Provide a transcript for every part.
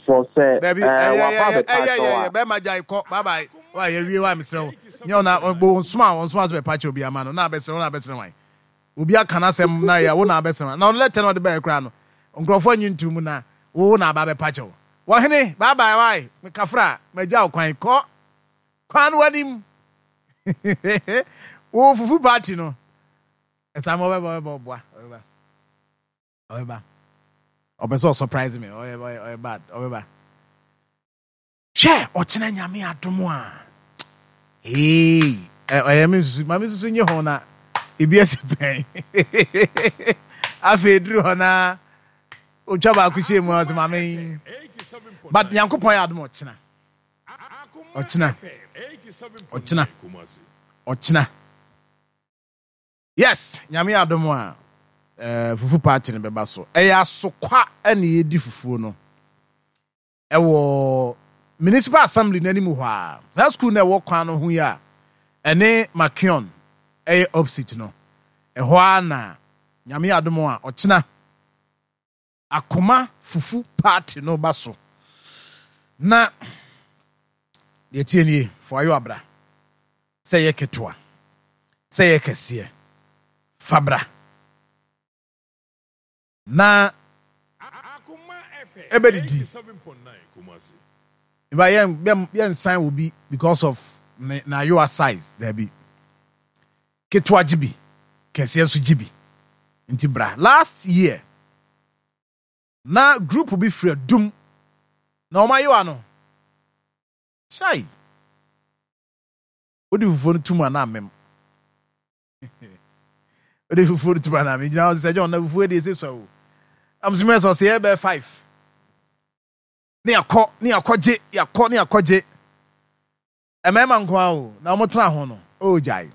For sɛ Dabi, ɛɛ ɛyɛ waba ɛyɛ abɛpa ɛyɛ kyɛw ɛyɛ a. bɛrima gyae kɔ bye bye wa yɛ wie wa mesrɛ wo nyɛ wo na bo nsoma a ɔnsoma so bɛpa kyɛw bi ama no na abɛsrɛ wo na abɛsrɛ wan obi aka n'asɛm na yɛ wo na abɛsrɛ wan na ɔno lɛtɛ na ɔde bɛyɛ koraa no nkurɔfoɔ anyi nto mu na wo na aba abɛpa kyɛw wɔhene bye bye wae mekafra magya wo kwan kɔ kwan no w'anim wo fufu party no ɛsa ma ɔbɛba ɔbɛba ɔboa ɔbɛba Ɔbɛba. Ɔpɛ sɛ ɔsurprise me. Ɔyɛ ɔyɛ ɔyɛ bad. Ɔbɛba. Hwɛ ɔkyena nyame adom a. Hey, ɔyɛ me susu. Ma me susu nye ho na ebi asi pɛn. Afei duru hɔ na otwa baako hyɛ mu a ɔsɛ maame. But Nyankopɔn yɛ adom ɔkyena. Ɔkyena. Ɔkyena. Ɔkyena. Yes Nyame adom a eh, fufu party no bɛba so. Ɛyɛ asokwa ɛna yɛdi fufuo no. Ɛwɔ Municipal Assembly no anim hɔ a. Saa school no ɛwɔ kwan no ho yi a ɛne Makion ɛyɛ opposite no. Ɛhɔ a na Nyame adom a ɔkyena Akoma fufu party no ba so. Na deɛ tie nie, fa w'ayowa bra. Sɛ ɛyɛ ketewa, sɛ ɛyɛ kɛseɛ, fa bra. Na ɛbɛdidi. Ba yɛn yɛn yɛnsan obi because of ne n'ayowa size daabi. Ketewa gye bi, kɛseɛ nso gye bi. Nti bra. Last year na group bi firi Adum na wɔn ayowa no hyai. Wode fufuo no tum a na amem. Wode fufuo no tum a na amem. Gyina hɔ sɛ John na fufuo deɛ ɛsɛ sua o. Am sɛ mɛ sɛ ɔsɛ yɛ bɛyɛ 5. Ne yɛakɔ ne yɛakɔgye yɛakɔ ne yɛakɔgye. Mmarima nko ara o, na wɔtena ho no, oh gyae.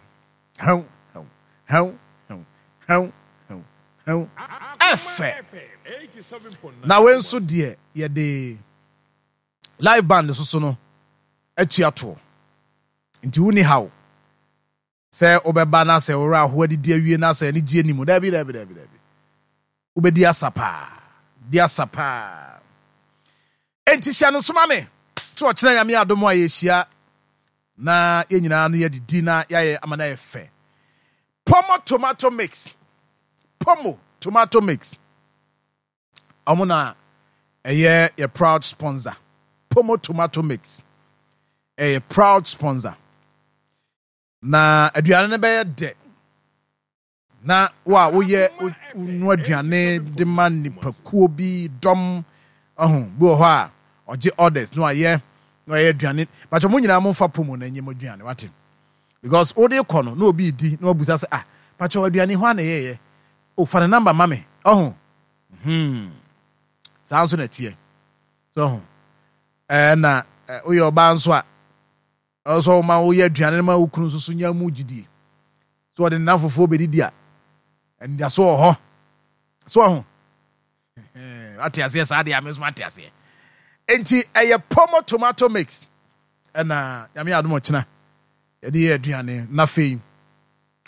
Hɛw, hɛw, hɛw, hɛw, hɛw, hɛw, hɛw. Ɛfɛ! Na wei nso deɛ yɛde live band nso so no atua toɔ. Nti wonni haw sɛ wobɛba na sɛ wo werɛ ahow adidi awie na sɛ anigyeɛ nni mu. Daabi, daabi, daabi, daabi. Wobɛdi asa paa. Di asa paa. Enti hyɛ no nso ma me. To ɔkyena Nyame adom a yɛhyia na yɛn nyinaa no yɛadidi na yɛayɛ ama no ayɛ fɛ. Pomo tomato mix. Pomo tomato mix. Ɔmo na ɛyɛ yɛ proud sponsor. Pomo tomato mix. Ɛyɛ proud sponsor. Na aduane no bɛyɛ dɛ. Na wo a woyɛ wonoa aduane de ma nipakuo bi dɔm ɔho bi wɔ hɔ a ɔgye orders na wayɛ na wayɛ aduane bàtɛ mo nyinaa mo nfa pomo na nyɛ mo aduane wate because wode kɔ no na obi di na wabusa sɛ ah bàtɛ aduane hɔ a na ɛyɛyɛ o fa ne number ma me ɔho hmm saa nso na ɛteɛ so ɔho ɛɛ na woyɛ ɔbaa nso a Ɛwɔ sɛ woma woyɛ aduane no ma wo kunu nso so nya mu gyidie. Sɛ ɔde ne nnamfofoɔ bɛdidi a, anidaso wɔ hɔ. So ɔho? Wate aseɛ saa deɛ a, me nso mate aseɛ. Enti ɛyɛ pomo tomato mix ɛna Nyame adom ɔkyena yɛde yɛ aduane na afei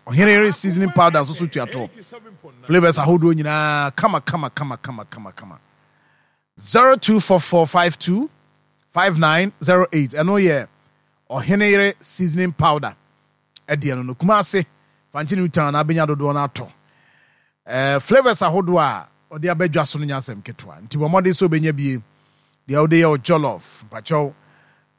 ɔhene yere seasoning powder nso so tua toɔ. Flavors ahodoɔ nyinaa kama kama kama kama kama kama. 024452 5908 ɛno yɛ ɔhene yere seasoning powder ɛdeɛ no no Kumase Fante New Town na abɛnya dodoɔ no atɔ ɛɛ flavours ahodoɔ a ɔde aba dwa so no nyɛ asɛm ketewa nti bɔ mmɔden sɛ ɔbɛnya bie deɛ wode yɛ jollof mpakyɛw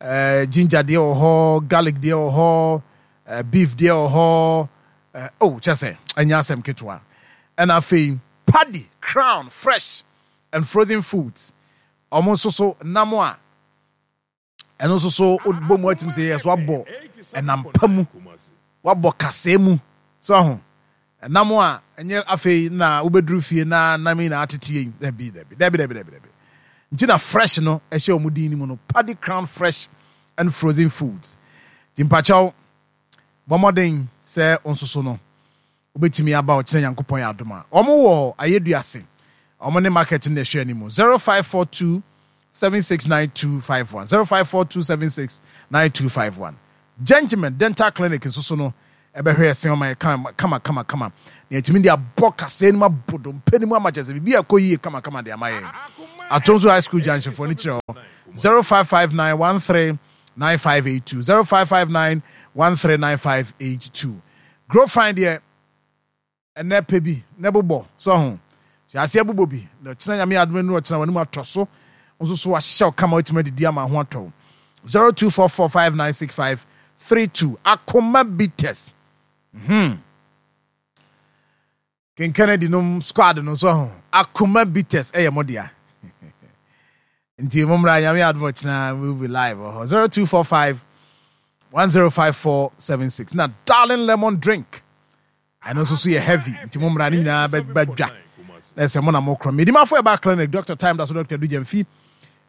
ɛɛ ginger deɛ wɔ hɔ garlic deɛ wɔ hɔ ɛɛ beef deɛ wɔ hɔ ɛɛ oh kyɛ sɛ ɛnyɛ asɛm ketewa ɛna afei paddy crown fresh and frozen foods wɔn nso so nam a ɛno nso so wobɔ mu atumi sɛ yɛ so abɔ ɛnam pa mu wabɔ kasɛɛ mu so aho ɛnam a ɛnyɛ afei na wobɛduru fie na nam yi na atete yi dabi dabi dabi dabi dabi dabi nti na fresh no ɛhyɛ wɔn din no mu no Paddy Crown fresh and frozen foods nti mpakyɛw bɔ mmɔden sɛ wo nso so no Wobɛtumi aba ɔkyena Nyankopɔn yɛ adom a. Wɔn wɔ Ayeduase. Wɔn ne market no na ɛhwɛ anim. 0542 769251 0542 769251 Gentleman Dental Clinic nso so no ɛbɛhwɛ yɛ se ɔma yɛ kama kama kama kama na yɛtumi de abɔ kasɛɛ no mu abɔ dompe no mu ama kyerɛ sɛ biribi ɛkɔ yie kama kama de ama yɛn. Atonso High School junction foɔ no kyerɛ hɔ. 0559 13 9582 0559 139582. Grow Fine deɛ ɛnɛ pɛ bi na bobɔ so ho. Hyɛ aseɛ bobɔ bi na ɔkyena Nyame adom anu ɔkyena w'anim atɔ so nso so wahyehyɛ wo kama watumi adidi ama ho atɔ wo. 0244596532 Akoma Bitters. Hmm. King Kennedy nom squad no so ho. Akoma Bitters ɛyɛ mo dea. Nti mo mmra Nyame adom ɔkyena we will be live wɔ hɔ. 0245 105476 na Darling Lemon Drink. Ɛno nso so yɛ heavy nti mo mmra ne nyinaa bɛba dwa. Na ɛsɛ mo na mo korɔ. Medimafo ɛba clinic Dr. Time da so Dr. Dugyamfi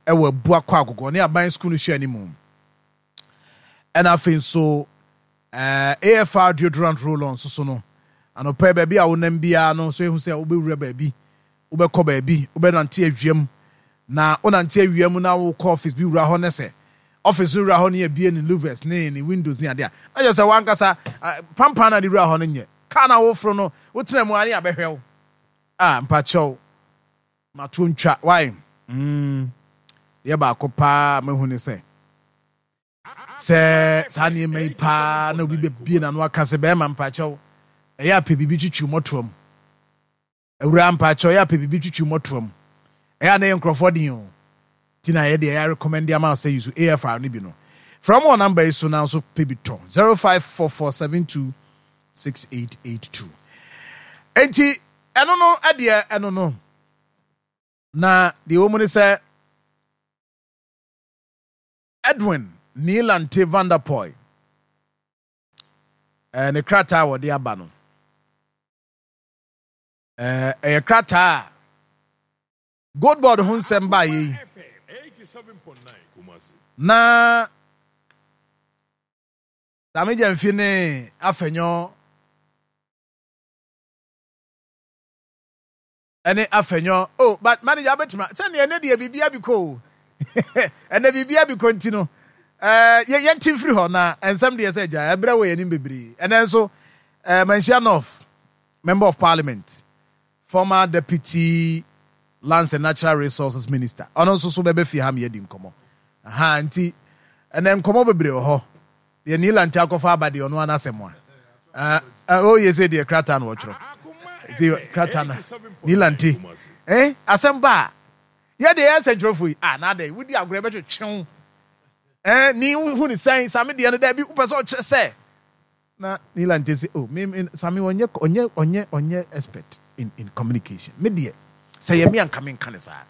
ɛwɔ Abua kɔ Agogo ne aban school no hyɛ anim. Ɛna afei nso eh, AFR deodorant roll-on nso so no, anɔpa yi baabi a wonam biara no, so ehu sɛ wobɛwura baabi, wobɛkɔ baabi, wobɛnante awia mu, na wonante awia mu na wokɔ office bi wura hɔ ne sɛ office no wura hɔ ne abie ne louvers ne ne windows ne adeɛ a, na kyerɛ sɛ wankasa pampan na de wura hɔ no nyɛ. Kaa na woforo no, wotena mu a ne abɛhwɛ wo. Ah, mpakyɛw, mato ntwa, why? Mm, deɛ baako paa mahu ne sɛ, Sɛ saa nneɛma yi paa na obi bɛbie n'ano aka sɛ bɛrima mpakyɛw ɛyɛ apɛ biribi twitwi mmɔtoa mu. Awuraa mpakyɛw ɛyɛ apɛ biribi twitwi mmɔtoa mu. Ɛyɛ a na ɛyɛ nkurɔfoɔ den o. Nti na yɛde ɛyɛ recommend ama wo sɛ use AFR no bi no. Frɛ wɔn wɔ number yi so na nso pɛ bi tɔ 0544726882. Enti ɛno no ɛdeɛ ɛno no. Na deɛ ɛwɔ mu ne sɛ Edwin Nii Lante Vanderpuye ne krataa a wɔde aba no, ɛyɛ krataa a Gold Board ho nsɛm baeɛ yi na Sammy Gyamfi ne Afenyo Ɛne afɛnyɔ oh but manager abɛtuma sɛdeɛ ɛnɛ deɛ biribi abikɔ o ɛnɛ biribi abikɔ nti no ɛɛ yɛ yɛn ti mfiri hɔ na nsɛm deɛ sɛ gya ɛbrɛ wɔ yɛn anim bebree ɛnɛ nso ɛɛ Manhyia North member of parliament former deputy lands and natural resources minister ɔno nso so bɛbɛ fie ha mi yɛdi nkɔmɔ aha nti ɛnɛ nkɔmɔ bebree wɔ hɔ. Deɛ Nii Lante akɔfa aba deɛ ɔno ara n'asɛm a. Oh yɛ sɛ deɛ krataa na wɔtwerɛ. Nti krataa na Nii Lante. Eh asɛm ba a. Yɛ deɛ yɛ nsɛntwerɛfoɔ yi. Ah na adɛn wodi agorɔ ɛbɛtwetwe wo. Eh ni wohu ne sɛn Same deɛ no daabi wopɛ sɛ ɔkyerɛ sɛ. Na Nii Lante se oh me me Same ɔnyɛ ɔnyɛ ɔnyɛ ɔnyɛ expert in in communication. Me deɛ sɛ yɛ me anka menka ne saa.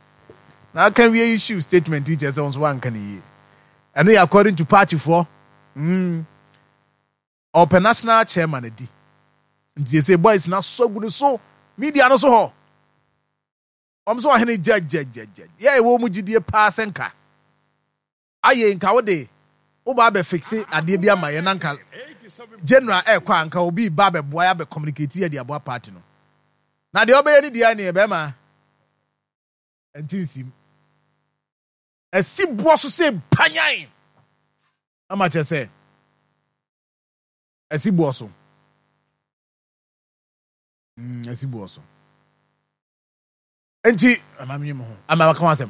Na aka wie issue statement yi kyerɛ sɛ wo nso woanka ne yie. Ɛno yɛ according to party foɔ. Mm. Ɔpɛ national chairman adi. Nti sɛ boys na sɔ gu ne so media no so hɔ. Wɔn sɛ ɔhene gyɛgyɛgyɛgyɛ. Yɛ ɛwɔ mu gyidie paa sɛ nka. Ayɛ nka wo de wo ba abɛ fixe adeɛ bi ama yɛ na nka general ɛkɔ a nka obi ba abɛboa yɛ abɛ communicate yɛ de aboa party no. Na deɛ ɔbɛyɛ ne deɛ ne yɛ bɛrima. Ɛnti nsim. Asi boɔ so sɛ panyan ama kyerɛ sɛ asi boɔ so. Asi boɔ so. Nti ama menye mo ho ama maka ho asɛm.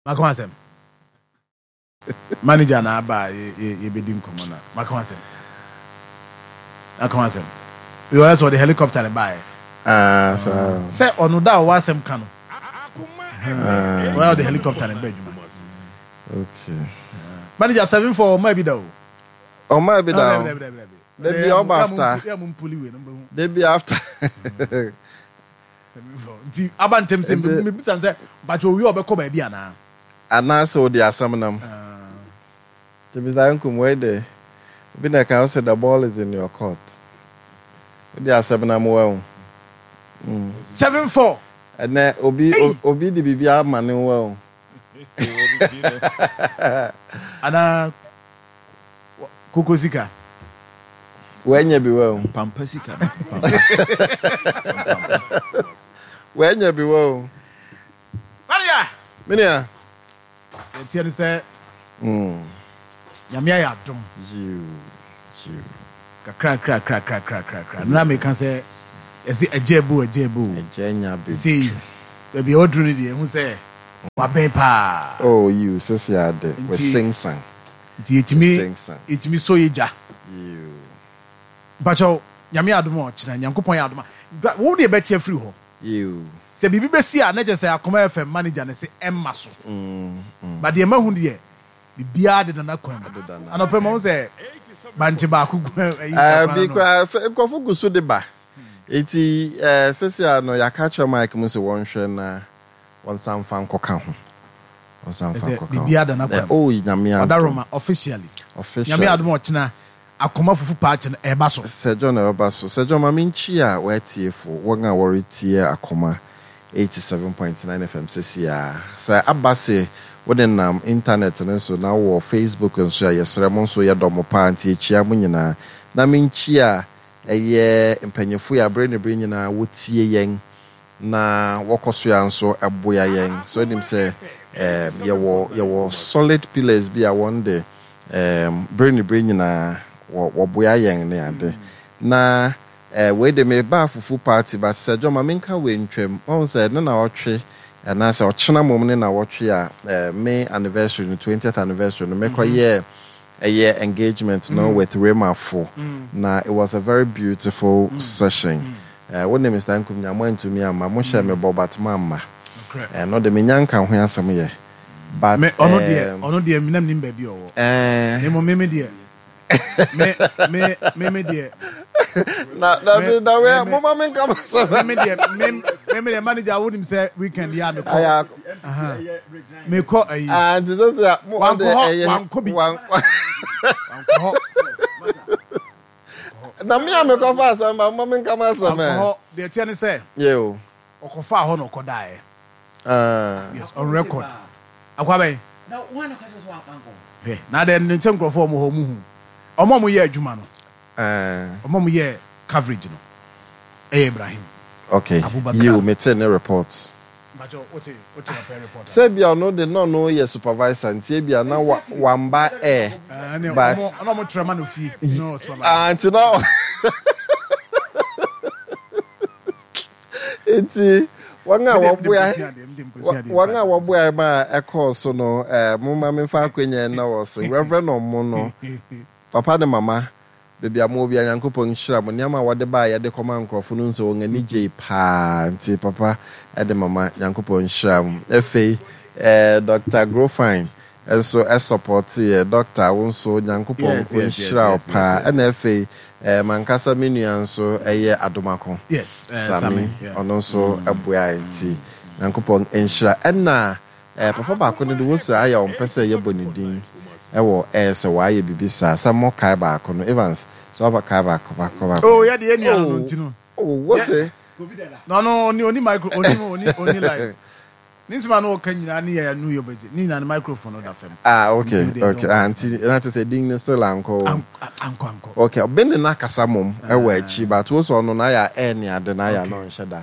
Maka ho asɛm. Manager na aba a yɛbɛdi nkɔmmɔ na maka ho asɛm. Maka ho asɛm. Yɛ sɛ ɔde helicopter ne baeɛ. Ah, saa. Sɛ ɔno da a ɔwɔ asɛm ka no. Ah. Ɔyɛ ɔde helicopter ne ba adwuma. Okay. Manager 74 ɔma bi da o. Ɔma bi da o. Dabi ɔba after. Dabi after. Nti aba ntɛm sɛ mebisa sɛ mpakyɛ owie ɔbɛkɔ baabi anaa. Anaasɛ wode asɛm nam. Nti Mister Nkum wei de, obi na ɛka ɔse the ball is in your court. Wode asɛm nam wahu. Mm. 74. Ɛnɛ obi obi de biribi ama ne wahu. Anaa koko sika. Wanya bi wahu. Pampa sika no. Pampa. Wanya bi wahu. Maria! Me nua. Deɛ ɛteɛ ne sɛ, Nyame ayɛ adom. Yiw, yiw. Kakrakrakrakrakrakra. Nora meka sɛ, yɛse agya abu, agya abu. Agya nya bɛduru. Sei, Baabi a waduru no deɛ, ehu sɛ wabɛn paa. Oh, yiw, sɛsi ara de, wasensan. Nti yɛtumi, yɛtumi sɔ yɛ gya. Yiw. Mpakyɛw, Nyame adom a ɔkyena, Nyankopɔn yɛ adom a, wo deɛ bɛte afiri hɔ. Yiw. Sɛ biribi bɛsi a, na kyerɛ sɛ Akoma FM manager no se ɛmma so. But deɛ mahu deɛ, biribiara deda n'akwan mu. Anɔpa yi mahu sɛ bankye baako gu ayi kwan ano. Bi koraa, nkurɔfo gu so de ba. Enti seesei ara no, yɛaka akyerɛ Mike mu sɛ wɔnhwɛ na wɔnsan mfa nkɔka ho. Wɔnsan mfa Ɛsɛ nkɔka ho. biribiara da n'akwan mu. Oh, Nyame adom. Ɔdaroma, officially. Officially. Nyame adom a ɔkyena Akoma fufu paakye no ɛreba so. Sir John ɛbɛba so. Sir John ma menkyia w'atiefo, wɔn a wɔretie Akoma 87.9 FM seesei ara. Sɛ aba se wo nenam internet no so na wowɔ Facebook nso a, yɛsrɛ mo nso yɛdɔ mo paa nti yɛkyia mo nyinaa. Na menkyia Ɛyɛ mpanyimfo yi a bere ne bere nyinaa wotie yɛn na wɔkɔ so ara nso boa yɛn. So wonim sɛ yɛwɔ yɛwɔ solid pillars bi a wɔn de bere ne bere nyinaa wɔ wɔboa yɛn ne ade. Na wei de mebaa fufu party but Sir John ma menka wei ntwam. Wahu sɛ ne naawɔtwe anaasɛ ɔkyena mmom ne naawɔtwe a me anniversary no, 20th anniversary no mekɔyɛɛ Ɛyɛ engagement no with Rema fo na it was a very beautiful session. Wo ne Mister Nkumnya mo antumi amma, mo hyɛɛ me bɔ but moamma. Ɛno de menya nka ho asɛm yɛ but Me ɔno deɛ ɔno deɛ me na menim baabi a ɔwɔ. Na mmom me me deɛ me me me me deɛ. Na na me na we mo ma me nka masɛm. Me me deɛ me me me deɛ manager wonim sɛ weekend yi a mekɔ. Mekɔ ayi. Ah, nti sɛ sɛ mo ɔde ɛyɛ. Wankɔ bi. Wankɔ hɔ. Na me a mekɔfa asɛm ba mo menka ma asɛm ɛ. Wankɔ hɔ. Deɛ ɛteɛ ne sɛ. Yɛ o. Ɔkɔfaa hɔ na ɔkɔdaeɛ. Ah. Yes, on record. Akwa bɛn? Hwɛ, na adɛn ne sɛ nkurɔfoɔ a wɔwɔ hɔ wɔn hu. Wɔn a wɔyɛ adwuma no. Ah. Wɔn a wɔyɛ coverage no. Ɛyɛ Ibrahim. Okay. Abubakar. Yiw, mete ne reports. Sɛ ebia ɔno de na ɔno yɛ supervisor nti ebia na wamba ɛ but. Ah nti na nti wɔn a wɔboa wɔn a wɔboa ma ɛkɔɔ so no ɛɛ mo ma memfa akonnwa na wɔ so Reverend ɔmo no papa ne mama. Baabi a mowɔ biara Nyankopɔn nhyira mo. Nneɛma a wɔde baeɛ de kɔmaa nkorɔfo no nso wɔn ani gyei paa nti papa de mama Nyankopɔn nhyira mo. Afei eh Doctor Grofine nso sɔpɔteeɛ. Doctor wo nso Nyankopɔn ɔnhyira wo paa. Ɛna afei eh mankasa me nua nso ɛyɛ Adomako Sami ɔno nso boaeɛ nti Nyankopɔn nhyira. Ɛna Eh papa baako no de wose ayɛ a ɔmpɛ sɛ yɛbɔ ne din wɔ air sɛ wayɛ biribi saa sɛ mo kae baako no Evans sɛ waba kae baako baako baako Oh yɛ de yɛ nua no no nti no. Oh wose. Na ɔno ɔni ɔni micro ɔni ɔni ɔni line ne nsɛm a na ɔka nyinaa ne yɛ no yɛ bɛgye ne nyinaa ne microphone no da fam. Ah okay okay ah nti na te sɛ din no still ankɔ o. Ankɔ ankɔ. Okay ɔbɛn ne na kasa mom ɛwɔ akyi but wose ɔno na ayɛ a air ne ade na ayɛ a na ɔnhyɛ da.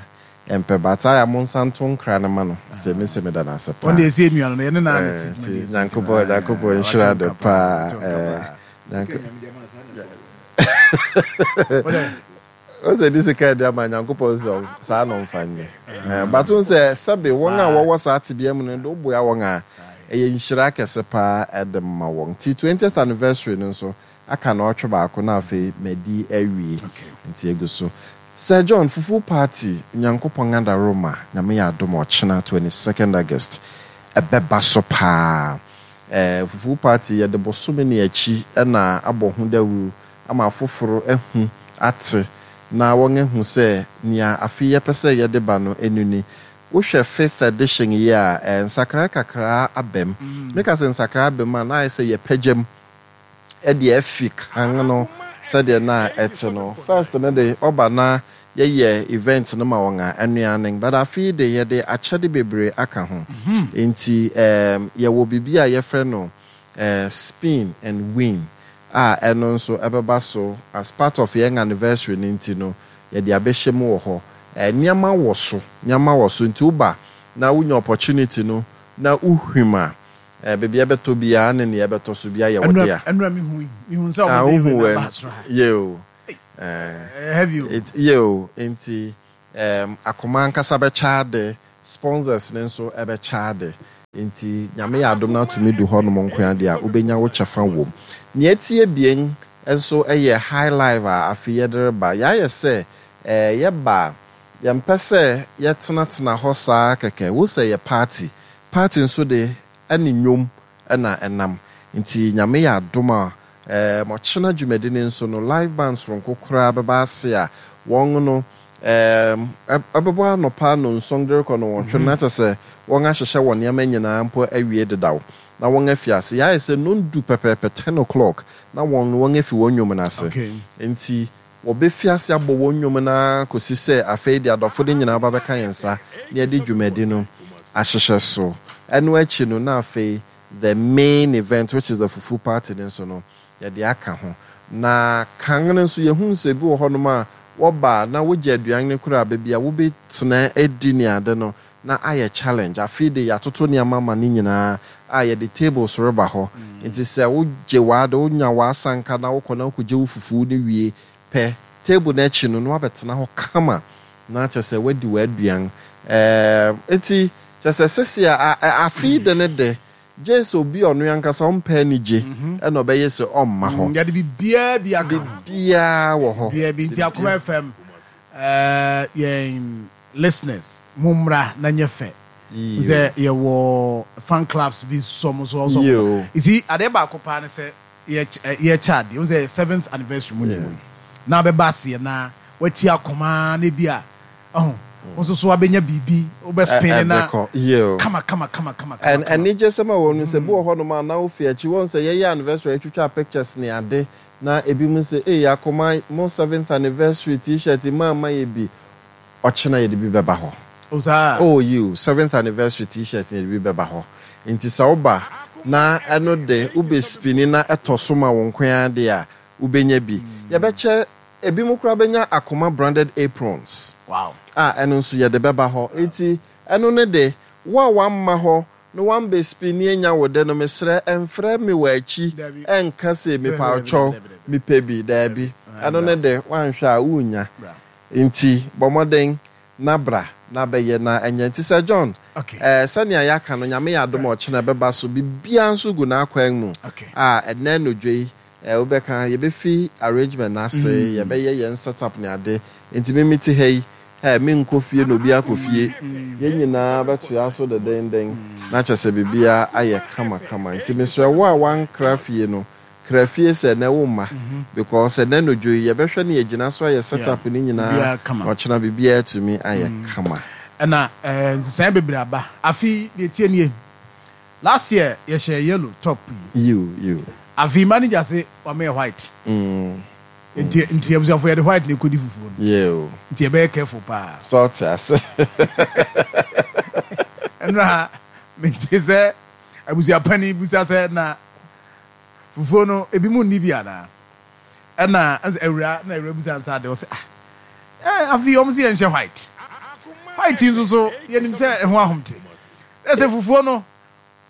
Ɛmpɛ but aya mo nsa nto nkra no ma no sɛ me se meda no ase paa. Ɔno deɛ ɛsɛ nua no no yɛne naa na ti Nti Nyankopɔn Nyankopɔn nhyira no paa eh Nyanko Ose de sika adi ama Nyankopɔn sɛ saa na ɔmfa nyɛ eh but wohu sɛ sɛbe wɔn a wɔwɔ saa tebea mu no de woboa wɔn a ɛyɛ nhyira kɛse paa ɛde ma wɔn nti 20th anniversary no nso Aka naɔtwe baako na afei madi awie nti egu so. Sir John, fufu party Onyankopɔn adaworoma Nyame yɛ adom a ɔkyena 22nd August ɛbɛba so paa. Eh fufu party yɛde bosome ne akyi na abɔ ho dawuru ama afoforo ahu ate na wɔn ahu sɛ nea afe yi yɛpɛ sɛ yɛde ba no ɛnu ni. Wohwɛ fifth edition yi a eh nsakrae kakraa aba mu. Meka sɛ nsakrae aba mu a na ayɛ sɛ yɛpagya mu. de afi kan no sɛdeɛ na ɛte no. First no de ɔba na yɛyɛ event no ma wɔn a ɛnoa but afe yi de yɛde akyɛde bebree aka ho. Nti ɛɛm yɛwɔ biribi a yɛfrɛ no ɛɛ spin and win a ɛno nso ɛbɛba so as part of yɛn anniversary no nti no yɛde abɛhyɛ mu wɔ hɔ. Ɛɛ nneɛma wɔ so, nneɛma wɔ so nti woba na wonya opportunity no na wohwim a Eh, baabi a ɛbɛtɔ biara ne nea ɛbɛtɔ so biara yɛ wo dea. Ɛnura mi hu mi hu sɛ ɔmo de wei na ba soro ha. Yɛ o. Ɛyɛ heavy o. Yɛ o, nti akoma ankasa bɛkyɛ ade. Sponsors no nso bɛkyɛ ade. Nti Nyame yɛ adom na atumi du hɔnom nkoa deɛ a, wobɛnya wo kyɛfa wom. Nea ɛti abien nso yɛ High Life a afe yi yɛde reba. Yɛayɛ sɛ yɛba a, yɛmpɛ sɛ yɛtenatena hɔ saa kɛkɛ. Wo sɛ yɛ party. Party nso de, ɛne nnwom na ɛnam. Nti Nyame yɛ adom a, Ɛɛm, ɔkyena dwumadi no nso no, live band soronko koraa bɛba ase a wɔn no, ɛɛm, ɛbɛbɔ anɔpa nnɔnson de rekɔ nnɔnwɔtwe no, na kyerɛ sɛ wɔahyehyɛ wɔn nneɛma nyinaa mpo awie dedaw, na wɔafi ase. Yɛayɛ sɛ nnɔndu pɛpɛɛpɛ, ten o'clock, na wɔn no wɔafi wɔn nnwom no ase. Enti wɔbɛfi ase abɔ wɔn nnwom no ara kɔsi sɛ afei de adɔfo no nyinaa ba bɛka yɛn nsa na yɛde dwumadi no ahyehyɛ so. Ɛno akyi no, na afei the main event which is the fufu party no nso no yɛde aka ho. Na kan no nso yɛhuu sɛ ebi wɔ hɔnom a wɔba a na wogye aduan no koraa baabi a wobɛtena adi ne ade no na ayɛ challenge. Afei de yɛatoto nneɛma ama no nyinaa a yɛde tables reba hɔ. Nti sɛ wogye w'ade, wonya w'asanka na wokɔ na wokɔgye wo fufu no wie pɛ, table no akyi no na woabɛtena hɔ kama na kyerɛ sɛ woadi w'aduan. Ɛɛm, enti kyerɛ sɛ sɛsi a, a, afe yi de ne de, gye sɛ obi a ɔno ankasa ɔmpɛ anigye na ɔbɛyɛ sɛ ɔmma hɔ. Yɛde biribiara bi aka ho. Biribiara wɔ hɔ. Biribiara bi. Nti Akoma FM, ɛɛ, yɛn listeners, mommra na nyɛ fɛ. Wohu sɛ yɛwɔ fan clubs bi nso wɔn nso wɔn nso. You see, adeɛ baako paa ne sɛ, yɛkyɛ adeɛ, wohu sɛ seventh anniversary mu na ɛwɔ yi, na abɛba aseɛ na wati akoma na ebi a, ɔho, wo nso so abɛnya biribi, wobɛ spin na kama kama kama kama kama. Anigyesɛm a ɛwɔ mu ne sɛ, bi wɔ hɔnom a na wofi akyi, woahu sɛ yɛyɛ anniversary a yɛtwitwa pictures ne ade, na ebinom sɛ, ei akoma, mo seventh anniversary t-shirt yi moamma yɛ bi, Ɔkyena yɛde bi bɛba hɔ. Oh saa? Oh yiw, seventh anniversary t-shirt no yɛde bi bɛba hɔ. Nti sɛ woba na ɛno de wobɛ spini na ɛtɔ so ma wo nko ara de a, wobɛnya bi. Yɛbɛkyɛ, ebinom koraa bɛnya Akoma branded aprons Wow. a ɛno nso yɛde bɛba hɔ. Nti ɛno no de, wo a wamma hɔ na wambɛ spini anya wo de no, mesrɛ mfrɛ me wɔ akyi Dabi. nka se Dabi, dabi, mepawkyɛw, dabi, dabi, dabi. mepɛ bi. Daabi. Dabi. Ɛno Bra. no de, woanhwɛ a wonnya. Bra. Nti bɔ mmɔden na bra na bɛyɛ na ɛnyɛ. Nti Sir John, Okay. eh, sɛnea yɛaka no, Nyame yɛ adom a ɔkyena ɛbɛba so, biribiara nso gu n'akwan mu Okay. a ɛnnɛ anodwo yi, eh, wobɛka, yɛbɛfi arrangement no ase, yɛbɛyɛ yɛn set up ne ade. Nti me mete ha yi, eh, menkɔ fie na obiara kɔ fie. Yɛn nyinaa bɛtoa so dedennden na kyerɛ sɛ biribiara ayɛ kama kama. Nti mesrɛ wo a woankra fie no, Kra fie sɛ ɛnɛ wo mma because ɛnɛ nodwo yi yɛbɛhwɛ ne yɛgyina so ayɛ set up no nyinaa na ɔkyena biribiara atumi ayɛ kama. Ɛna nsesaeɛ bebree aba. Afe yi deɛ ɛteɛ nie, last year yɛhyɛɛ yellow top yi. Yiw yiw. Afe yi manager se wama yɛ white. Nti nti abusuafo yɛde white na ɛkɔdi fufuo no. Yiw. Nti yɛbɛyɛ careful paa. Sɛ ɔte ase. Ɛnora mente sɛ abusua panin bisa sɛ na Fufuo no ebi mo nni bi anaa? Ɛna ɛsɛ awura na awura bisa nsa ade ɔsɛ ah ɛɛ afei wɔn sɛ yɛn hyɛ white white nso so yɛnim sɛ ɛho ahomte ɛsɛ fufuo no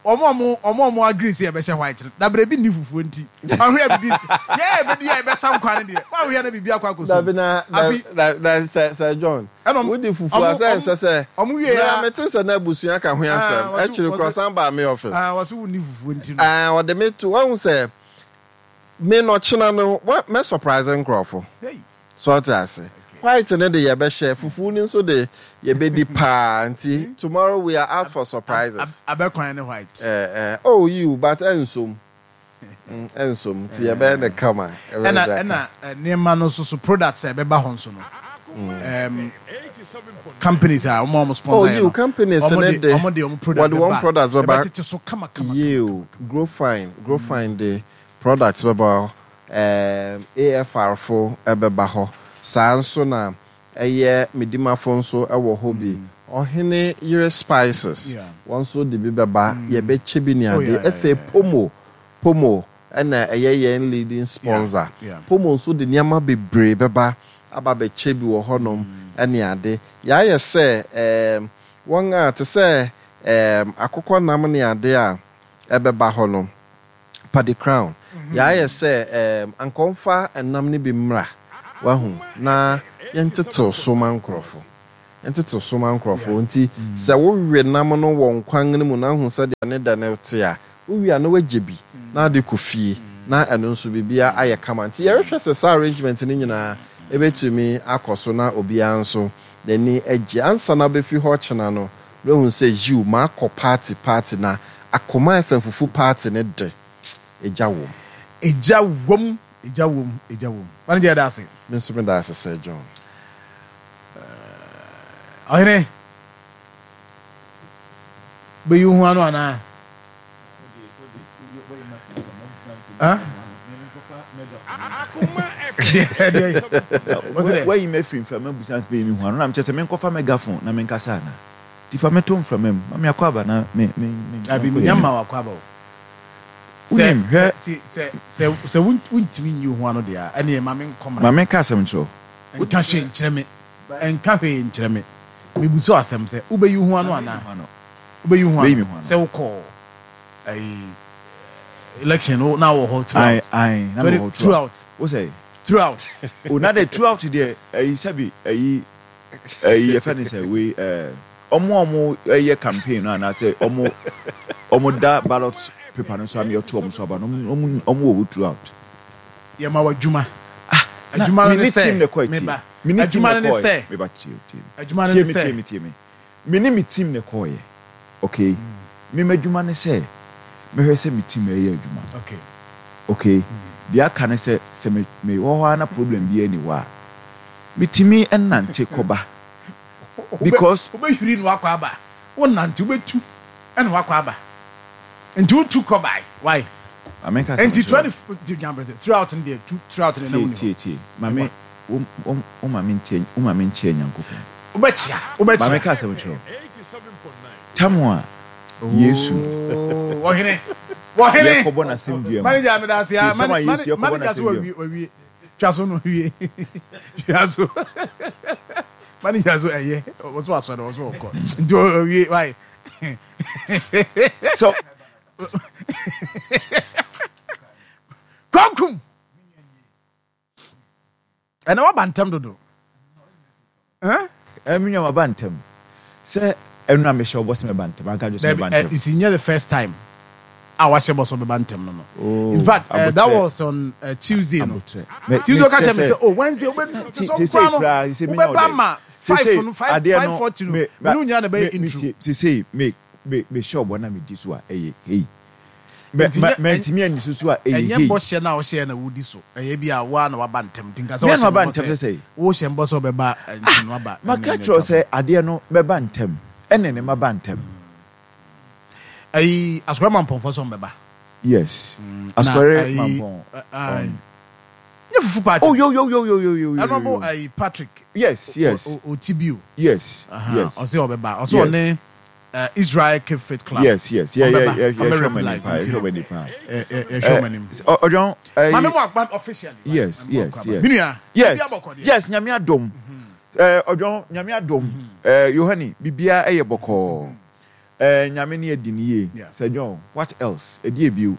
wɔn a wɔn wɔn a wɔn agree sɛ yɛbɛhyɛ white no dabrɛ ebi nni fufuo nti wɔn ahwɛ bibi yɛ ɛbɛdi yɛ ɛbɛsa nkwa no deɛ wɔn ahwɛ na bibi akɔ akɔ so Dabi na afi na na sɛ sɛ John ɛna wodi fufuo a wɔn sɛ nsɛ sɛ wɔn wie mmerɛ ya mete sɛ na abusua ka ho asɛm ah wɔsi akyiri korɔ wɔsi ɔsan baa me office. ah wɔsi wonni fufuo nti no. Ah ɔde me to wahu sɛ me no ɔkyena no wa mɛ surprise nkorɔfo Hey. so ɔte ase white no de yɛbɛhyɛ fufuo no nso de yɛbɛdi paa nti tomorrow we are out for surprises. Abɛkwan ne white. Eh eh oh yiw but ɛnsom mm ɛnsom nti yɛbɛyɛ no kama yɛbɛyɛ Ɛna no ɛna nneɛma no nso so products a ɛbɛba hɔ nso no um, companies a wɔn a wɔn Oh sponsor yɛ yiw no companies wɔn no de de wɔn de wɔn product wɔde wɔn bɛba products bɛba ɛbɛtete so kama kama kama yiw kama kama. grow fine grow fine de products bɛba hɔ um AFR fo bɛba hɔ saa nso na Ɛyɛ Medimafo nso wɔ hɔ bi. Ɔhene yere spices, wɔn nso de bi bɛba, yɛbɛkyɛ bi ne adeɛ. Afei Pomo, Pomo na ɛyɛ yɛn leading sponsor. Pomo nso de nneɛma bebree bɛba aba abɛkyɛ bi wɔ hɔnom ne ade. Yɛayɛ sɛ ɛɛm wɔn a te sɛ ɛɛm akokɔnam ne ade a ɛbɛba hɔ no, Paddy Crown, Yɛayɛ sɛ ɛɛm, anka ɔmfa ɛnam no bi mmra, wahu, na yɛntetew so ma nkurɔfo. ntete so ma nkorɔfoɔ. Nti sɛ wowe nam no wɔ nkwan no mu na wohu sɛdeɛ ne dɛ no te a, wowie a na woagye bi na wode kɔ fie na ɛno nso biribiara ayɛ kama. Nti yɛrehwɛ sɛ saa arrangement no nyinaa ɛbɛtumi akɔ so na obiara nso n'ani agye. Ansa na wobɛfi hɔ kyena no, na woahu sɛ yiw, makɔ party party na Akoma FM fufu party no de, egya wom. Egya wom, egya wom, egya wom. Manager yɛda ase. Me nso meda ase Sir John. Ɔhene, bɛyi wo ho ano anaa? Wayi me afiri mframa mu san bɛyi me ho ano na mekyɛ sɛ menkɔfa megaphone na menkasa anaa? Nti fa me to mframa mu ma me akwaaba na me me me Dabi menya mma w'akwaaba o. Wonim hwɛ. Sɛ sɛ sɛ wontumi nyi wo ho ano deɛ a ɛneɛ ma menkɔ mmra. Ma menka asɛm nkyerɛ wo. Nka hwee nkyerɛ me. Nka hwee nkyerɛ me. Mebisa wo asɛm sɛ wobɛyi wo ho ano anaa? Wobɛyi wo ho ano sɛ wokɔɔ ayi election no na wɔ hɔ throughout. Ayi na wɔ hɔ throughout. Wo sɛ. Throughout. O na de throughout deɛ ayi sɛbi ayi ayi yɛfɛ ne sɛ wei ɛɛ ɔmo a ɔmo ɛyɛ campaign no anaasɛ ɔmo ɔmo da ballot paper no so ama yɛto ɔmo so aba no ɔmo ɔmo ɔmo wɔ hɔ throughout. Yɛ ma wɔ adwuma. Ah adwuma no ne sɛ meba adwuma no ne sɛ meba tie tie adwuma no ne sɛ tie me tie me. Me ne me team na ɛkɔeɛ okay me m'adwuma ne sɛ mɛhwɛ sɛ me team ɛreyɛ adwuma okay deɛ aka ne sɛ sɛ me me wɔ hɔ ara na problem biara nni hɔ a metumi nante kɔba because. Wobɛhwiri na wakɔ aba wonante wobɛtu na wakɔ aba nti wotu kɔ bae why Maame nka asɛm nti nkyerɛ wo. 20 throughout no deɛ tu throughout no na Tie wonni hɔ. tie tie maame wo wo wo ma mentie wo ma menkyia Nyankopɔn. Wobɛkyea, Ma wobɛkyea. menka asɛm nkyerɛ wo. Tam a Yesu Oh, ɔhene, ɔhene. yɛkɔbɔ n'asɛmdua mu. Manager, meda ase Tie, ah. tam a Mane, Yesu mane, yɛkɔbɔ manager so n'asɛmdua mu. wawie, wawie. Twa so no wie. Twa so. Manager so ɛyɛ. Ɔso asɔre, ɔso ɔkɔ. Nti ɔwie, why? So Kwakum. Ɛnɛ waba ntɛm dodo. Eh? Eh, me nua maba ntɛm. Sɛ ɛno na mehyɛ ɔbɔ sɛ mɛba ntɛm, anka dwo sɛ mɛba ntɛm. You see, nyɛ the first time a wahyɛ bɔ sɛ ɔbɛba ntɛm no no. Oh, In fact, uh, that was on uh, Tuesday no. Tuesday ɔka kyerɛ me sɛ, oh, Wednesday wobɛ sɛ ɔkora no wobɛba ma 5 no 5 5:40 no. Me ne wo nyinaa na ɛbɛyɛ intro. Sesei me me mehyɛ ɔbɔ na medi so a ɛyɛ hei. Mantumi anni so so a, ɛyɛ Ɛnyɛ hei. bɔhyɛ no a wohyɛɛ na wodi so. Ɛyɛ bi a wo ara na woaba ntɛm. Nti nka sɛ Me ara wohyɛ na maba me bɔ ntɛm sɛ sɛ sɛn? wohyɛ me bɔ sɛ wobɛba Ah! nti no woaba. Maka Ɛno akyerɛ wo ɛtwa sɛ so. adeɛ no mɛba ntɛm. Ɛne ne maba ntɛm. Ayi, Asukɔre Mampɔnfoɔ sɛ wɔbɛba. Yes. Na Asukɔre ayi, Mampɔn. ayi, Um, nyɛ fufu party oh, no. yo, yo, yo, yo, yo, yo, yo, Ɛno bo yo. ayi Patrick Yes, o, yes, o, o, Otibio. yes, Aha, yes, ɔsɛ ɔbɛba. Ɔsɛ yes. ɔne eh, Israel Cape Faith Club. Yes, yes. Yeah, yeah, Ɔmbɛba, yeah, yeah, ɔmbɛrep hwɛ ɔmo anim live paa, nti yɛhwɛ no, ɔmo anim paa. eh, eh, yɛhwɛ Eh, ɔmo anim. Ɔdwɔn, Maame eh, mu akpa officially. Why? yes, Maame mu yes, akpa. yes. Menua, Yes, biribi abɔkɔ deɛ. yes, Nyame adom. Eh, Ɔdwɔn, Nyame adom. Eh, Yohane, biribiara ɛyɛ bɔkɔɔ. Eh, Nyame ne adi ne yie. Yeah. Sir John, what else? Ɛdeɛ bio?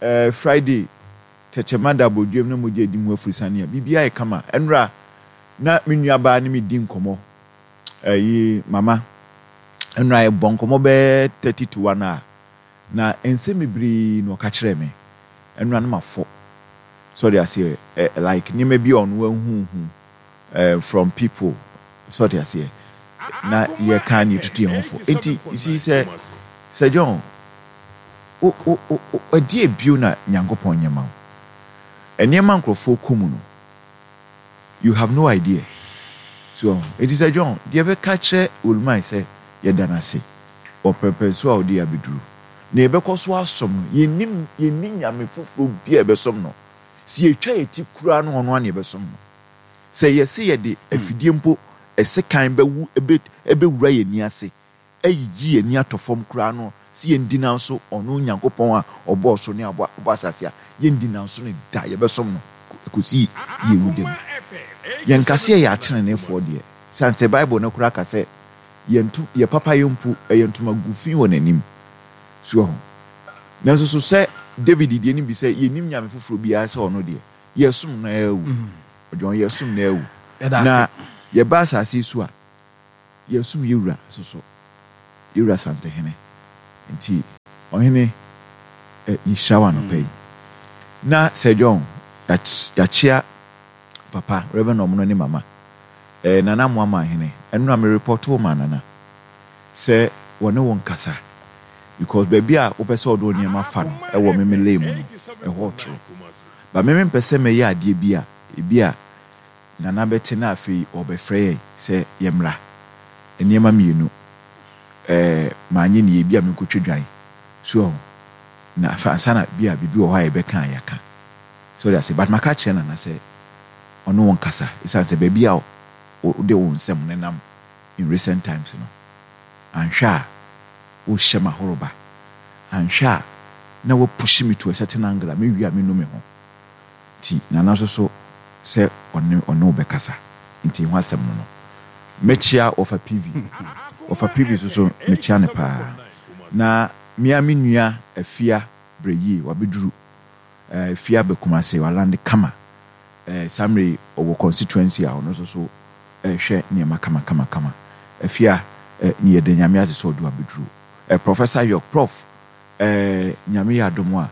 Eh, Friday, tɛkyɛma da abɔdwam na mogya adi mu afurusane a, biribiara yɛ kama. Ɛnora, na me nuabaa ne me di nkɔmmɔ. Ɛyi, mama, ɛnora yɛbɔ nkɔmmɔ bɛyɛ 30 to 1 a, na nsɛm bebree na ɔka kyerɛɛ me. Ɛnora no mafɔ. So ɔde aseɛ, eh, like nneɛma bi a ɔno ahuhu eh, from people. So ɔde aseɛ, na yɛka ne yɛtutu yɛn ho fo. Enti, you see, sɛ, Sir John, wo, wo, wo, ɛdeɛ bio na Nyankopɔn nyɛ ma wo? Nneɛma nkurɔfoɔ kɔ mu no, You have no idea. So wahu? Enti sɛ John, deɛ yɛbɛka akyerɛ Olumai sɛ yɛda no ase wɔ pɛrpɛnsoɔ a ɔde yɛn abɛduru, na yɛbɛkɔ so asom no. Yɛnnim, yɛnni nyame foforɔ biara a yɛbɛsom no. Sɛ yɛtwa yɛn ti koraa no, ɔno ara na yɛbɛsom no. Sɛ yɛse yɛde afidie mpo, sekan bɛwu, ɛbɛ, ɛbɛwura yɛn ani ase, ayiyi yɛn ani atɔ fam koraa no, sɛ yɛndi nanso ɔno Nyankopɔn a ɔbɔɔ soro ne abɔ ɔbɔɔ asase a, yɛndi nanso no da, yɛbɛsom no kɔsi yɛn wu da mu. Yɛnka sɛ yɛyɛ ateneneefoɔ deɛ, sane sɛ Bible no koraa ka sɛ yɛn nto yɛn papayɛ mpo ɛyɛ ntomago fi wɔ n'anim. So wahu? Nanso so sɛ David deɛ no bi sɛ yɛnnim nyame foforɔ biara sɛ ɔno deɛ, yɛsom no ara awu. Ɔdwɔn yɛsom no awu. Yɛda Na ase. yɛba asase yi so a, Yɛresom yɛ wura nso so, yɛ wura Santehene. Nti ɔhene eh, yɛhyira wo anɔpa yi. Na Sir John, yɛakyea papa, Reverend Ɔmono ne mama, eh, Nana Amoaman hene. Ɛno na me report wo maa Nana sɛ wɔne wo nkasa because baabi a wopɛ sɛ ɔde wo nneɛma fa no ɛwɔ me me lane mu no, ɛhɔ ɔtoro. But me mempɛ sɛ mɛyɛ adeɛ bi a ebi a Nana bɛte na afei ɔrebɛfrɛ yɛn sɛ yɛmmra. Nneɛma mmienu, ɛɛ, manyɛ no yie, ebia menkɔtwa dwan. So wahu? Na afei ansa na bi a biribi wɔ hɔ a yɛbɛka a, yɛaka. So wode aseɛ? But maka akyerɛ Nana sɛ ɔne wo nkasa, ɛsiane sɛ baabi a wode wo nsɛm nenam in recent times no, anhwɛ a wohyɛ m'ahoroba. Anhwɛ a na woapushi me to a certain angle a mewie a menu me ho. Nti Nana nso so sɛ ɔne ɔne wo bɛkasa nti ho asɛm no no. Mɛkyia Wɔfa PV. Wɔfa PV nso so mekyia no paa. Na me ara me nua Afia Brɛyie wabɛduru eh, Afia aba Kumase, walande kama. Eh, saa mmerɛ yi ɔwɔ constituency a ɔno nso so rehwɛ nneɛma kama kama kama. Afia eh, yɛda Nyame ase sɛ ɔde wo abɛduru. Eh, Professor York, Prof, Eh Nyame yɛ adom a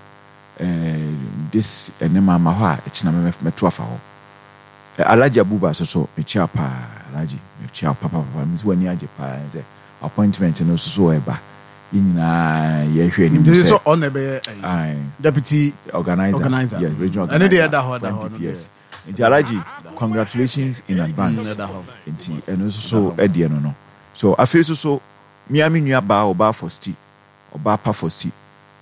eh this ɛnɛ mamma hɔ a ɛkyena mɛ mɛto afa hɔ. Eh Alhaji Abuba nso so mekyia wo paa Alhaji mekyia wo papapapa me nso w'ani agye paa sɛ appointment no nso so ɛba yɛn nyinaa yɛhwɛ anim Nti sɛ sɛ ɔno na ɛbɛyɛ ɛyi ae deputy organizer organizer yes regional ɛno deɛ organizer ɛda hɔ for ɛda hɔ ɛno deɛ MPPS nti Alhaji congratulations in advance ɛda hɔ nti ɛno nso ɛda so hɔ. ɛdeɛ no no so afei nso so me ara me nua baa ɔbaa Fosti Ɔbaa pa Fosi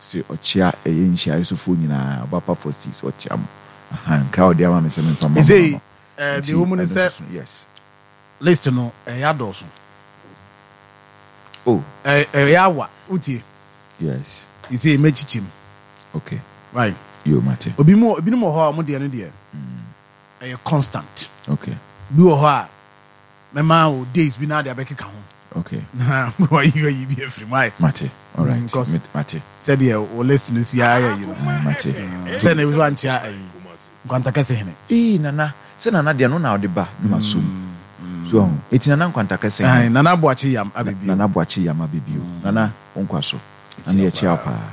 se ɔkyea ɛyɛ nhyiaeɛ so foɔ nyinaa Ɔbaa pa Fosi se ɔkyea mo ahaa nkra a ɔde ama me sɛ memfa mma mo no Ɛsei no eh, nti deɛ ɛwɔ mu ne ɛno sɛ nso so yes. list no ɛyɛ adɔɔso. Oh. Ɛyɛ awa wotie. Yes. Te sɛ mɛkyikyim. Okay. Right. Yo mate. Obi mu ebinom wɔ hɔ a wɔn deɛ no deɛ ɛyɛ constant. Okay. Bi wɔ hɔ a Mɛma wo days bi na ade abɛkeka ho. Okay. Na wayi wayi bi afiri mu ayɛ. Mate. All right. Because mate. Sɛdeɛ wo list no si ayɛ yi no. Mate. Sɛ na ebi ankyea ayi. Nkwanta kɛse hene. Ee nana, sɛ nana deɛ no na ɔde ba na ma som. So ahu. Eti nana nkwanta kɛse hene. Nana Boakye Yam abɛbio. Nana Boakye Yam abɛbio. Nana wo nkwa so. Nana yɛkyea wo paa.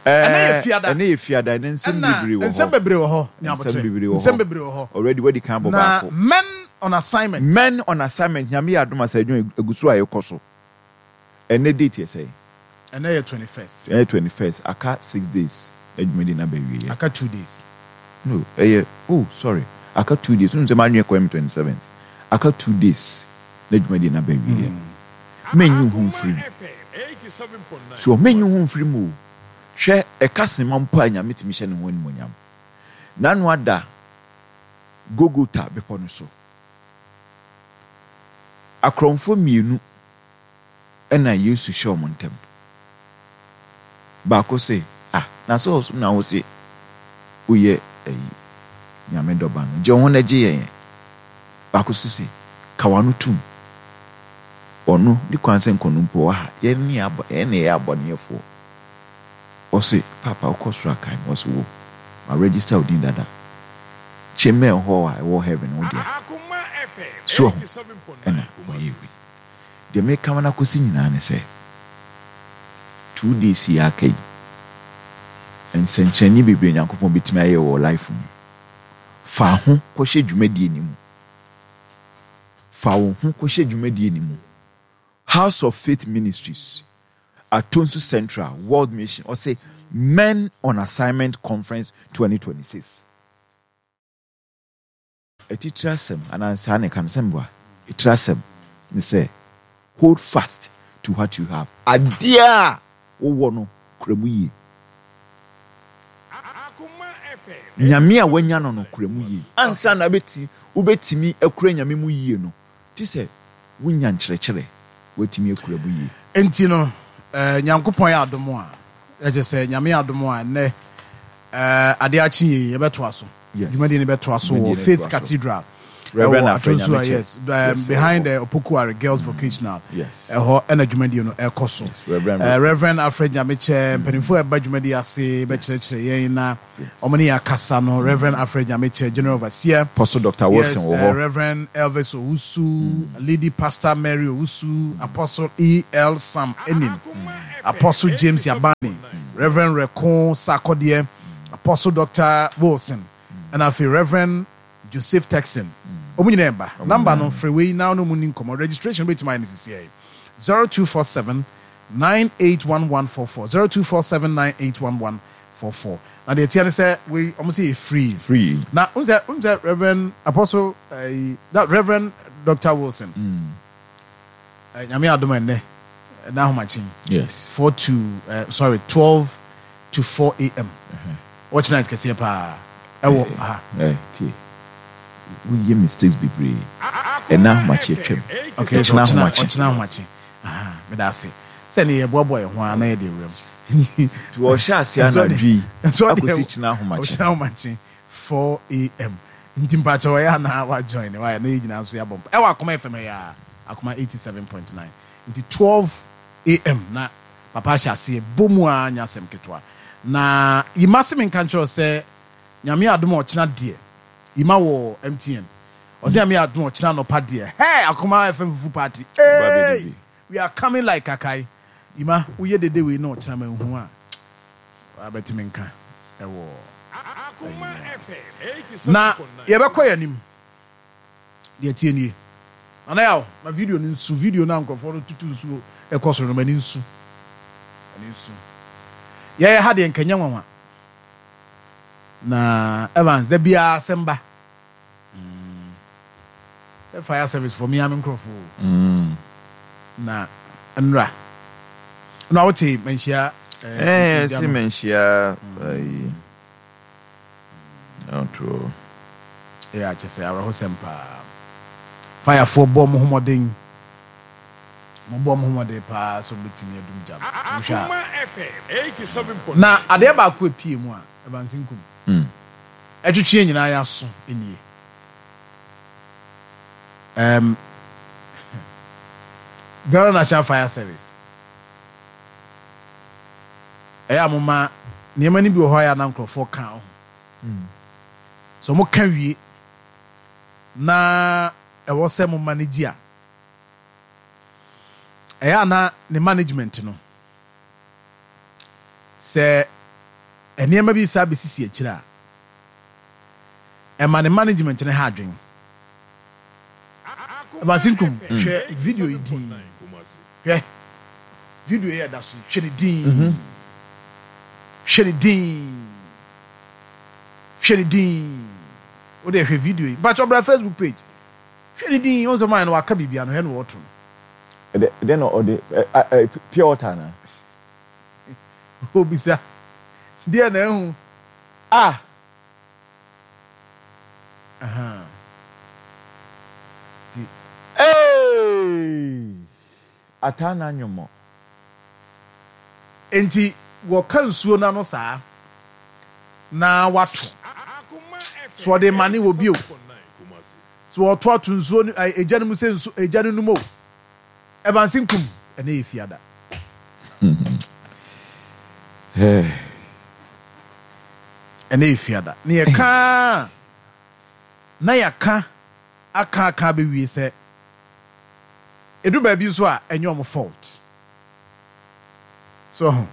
Ɛnɛ yɛ fiada. Ɛnɛ yɛ fiada. Ɛnɛ nsɛm bebree wɔ hɔ. Nsɛm bebree wɔ hɔ. Nyabotrɛ. Nsɛm bebree wɔ hɔ. Nsɛm bebree wɔ hɔ. Already wadi kan abɔ baako. Na men on assignment. Men on assignment. Nyame yɛ adom a sɛ adwuma egu so a ɛkɔ so. Ɛnɛ date yɛ sɛn? Ɛnɛ yɛ 21st. Ɛnɛ 21st. Aka 6 days na dwumadi no aba awieɛ. Aka 2 days. No, ɛyɛ oh sorry. Aka 2 days. Wonim sɛ m'adwene kɔyɛ me 27th. Aka 2 days na dwumadie no aba awieɛ. Mɛnyi wo ho mfiri mu. So mɛnyi wo ho mfiri mu o. Hwɛ, ɛka sema mpo a Nyame tumi hyɛ ne ho animuonyam. N'ano ada Golgota bepɔ no so. Akorɔmfoɔ mmienu na Yesu hyɛ wɔn ntam. Baako se, Ah, na sɛ ɔsom na wose woyɛ ayi, Nyame dɔba no, gye wo ho na gye yɛn ɛ. Baako nso se, Ka w'ano tom. Ɔno, ne kwan sɛ nkɔ no mpo ɔwɔ ha. Yɛn ne yɛn yɛn na yɛyɛ abɔneyɛfoɔ. Ɔse, Paapa wokɔ soro a kae me. Ɔse, Wo, ma register wo din dada. Chamber hall a ɛwɔ heaven wo dea. So wahu? Ɛna ɔyɛɛ wei. Deɛ meka ma no akɔsi nyinaa ne sɛ, 2 days yi a aka yi, nsɛnkyerɛnne bebree Nyankopɔn bɛtumi ayɛ wɔ life mu. Fa ho kɔhyɛ dwumadie no mu. Fa wo ho kɔhyɛ dwumadie no mu. House of Faith Ministries, Atonsu Central, World Mission, ɔse Men on Assignment Conference 2026. Atitire asɛm, anaa saa na ɛka no, sɛ meboa? Etire asɛm ne sɛ, Hold fast to what you have. Adeɛ a wowɔ no, kura mu yie. Nyame a woanya no no, kura mu yie. Ansa na wobɛtumi akura Nyame mu yie no, gye sɛ wonya nkyerɛkyerɛ, woatumi akura mu yie. Enti no, Nyankopɔn yɛ adom a, kyerɛ sɛ Nyame yɛ adom a, ɛnnɛ adeɛ akye yei, yɛbɛtoa so. Dwumadie no bɛtoa so wɔ Faith Cathedral. Reverend Ɛwɔ Afrɛ Atonsu a Nyamekyɛ. yes, um, Yes, ɛwɔ behind hɔ. the Opokuare Girls Vocational. Yes. Ɛhɔ ɛna dwumadie no ɛkɔ so. Yes, Reverend. Reverend Alfred Nyamekyɛ, mpanimfoɔ a ɛba dwumadie ase bɛkyerɛkyerɛ yɛn na wɔn ne yɛn akasa no. Reverend Alfred Nyamekyɛ, General Overseer. Apostle Doctor Yes, Wilson wɔ hɔ. Reverend Elvis Owusu, Lady Pastor Mary Owusu, Apostle E. L. Sam Enim, Apostle James Yabani, Reverend Reko Sarkodie, Apostle Doctor Wilson, ɛna afei Reverend Joseph Texan. Wɔn nyinaa ɛba. Number no, frɛ wei na wo ne wɔn nni nkɔmmɔ. Registration wobɛtumi ayɛ no sisiɛ yi. 0247 981144, 0247 981144. Na deɛ ɛteɛ ne sɛ wei wɔn sɛ yɛ free. Free. Na n sɛ n sɛ Reverend Apostle ɛyi that Reverend Doctor Wilson. Eh, Nyame adom ɛnnɛ ɛna ahomakye. Yes. 4 to sorry 12 to 4 a.m. Watch night kɛseɛ paa ɛwɔ ha. Eh, tie. Woyɛ mistakes bebree. Ɛna ahomakye atwam. Okay, so Ɛkyena ɔkyena ahomakye. ɔkyena ahomakye. Aha, meda ase. Sɛ ne yɛboaboa yɛn ho a na yɛde awura mu. Nti wɔhyɛ ase anadwo yi akɔsi kyena ahomakye. Ɔkyena ahomakye 4 a.m. Nti mpakyɛ ɔyɛ a na wa join ne wayɛ na yɛn nyinaa nso yɛabɔ mpa. Ɛwɔ Akoma FM ha yi ara, Akoma 87.9. Nti 12 a.m. na papa ahyɛ aseɛ bɔ mu ara nyɛ asɛm ketewa. Na Yima se menka nkyerɛ wo sɛ Nyame adom a ɔkyena deɛ Yima wɔ MTN. Ɔse Nyame adom a ɔkyena anɔpa deɛ hey Akoma FM fufu party eei we are coming like kakai. Yima woyɛ dede wei na ɔkyena manhu a wabɛte me nka ɛwɔ ayi mu a. Na yɛbɛkɔ yɛn anim. Deɛ ɛteɛ nie. Nana Yaw, ma video no nsu. Video no a nkurɔfoɔ no tutu nsuo kɔ soro no, ma ani nsu. Ma ani nsu. Yɛyɛ ha deɛ nka nyɛ nwanwa. Na Evans, da biara asɛm ba. Mm. Fire service for me ame nkurɔfoɔ o. Mm. Na nnora. Na wote manhyia. Eh, eh si manhyia. Mm. Ɔtoo. Ɛyɛ a kyerɛ sɛ awerɛhosɛm paa. Firefoɔ bɔ wɔn ho mmɔden. Wɔbɔ wɔn ho mmɔden paa sɛ wɔbɛtumi adum gya no. Wohwɛ a. Na adeɛ baako a ɛpue mu a, Evans Nkum, ɛtwetwe yɛn nyinaa yɛn aso nie. Um, Ghana National Fire Service. Ɛyɛ a moma nneɛma no bi wɔ hɔ a ɛyɛ a na nkurɔfoɔ ka ho. Sɛ wɔka wie na ɛwɔ sɛ mo manage a, ɛyɛ a na ne management no, sɛ nneɛma bi saa bɛsisi akyire a, ɛma ne management no ha adwene. Masinkum, hwɛ video yi din. Hwɛ video yi a ɛda so yi, hwɛ ne din. Hwɛ ne din. Hwɛ ne din. Wo deɛ hwɛ video yi. Mpakyɛ bra Facebook page. Hwɛ ne din. Wɔn sɛ maa no waka biribi ano hwɛ no wɔto no. Ɛdɛ ɛdɛ na ɔde ɛ ɛ pure water anaa? Obisa. Deɛ na ehu. Ah! Eeii! Ataa na anwommo. Enti wɔka nsuo no ano saa na wato. So ɔde mane wɔ bio. So ɔto ato nsuo no egya no mu sɛ nsu egya no num o. Evans Nkum, ɛnɛ yɛ fiada. Ɛnɛ yɛ fiada. Ne yɛ ka na yɛaka aka aka abɛwie sɛ ɛdu baabi nso a ɛnyɛ ɔmo fault. So ho.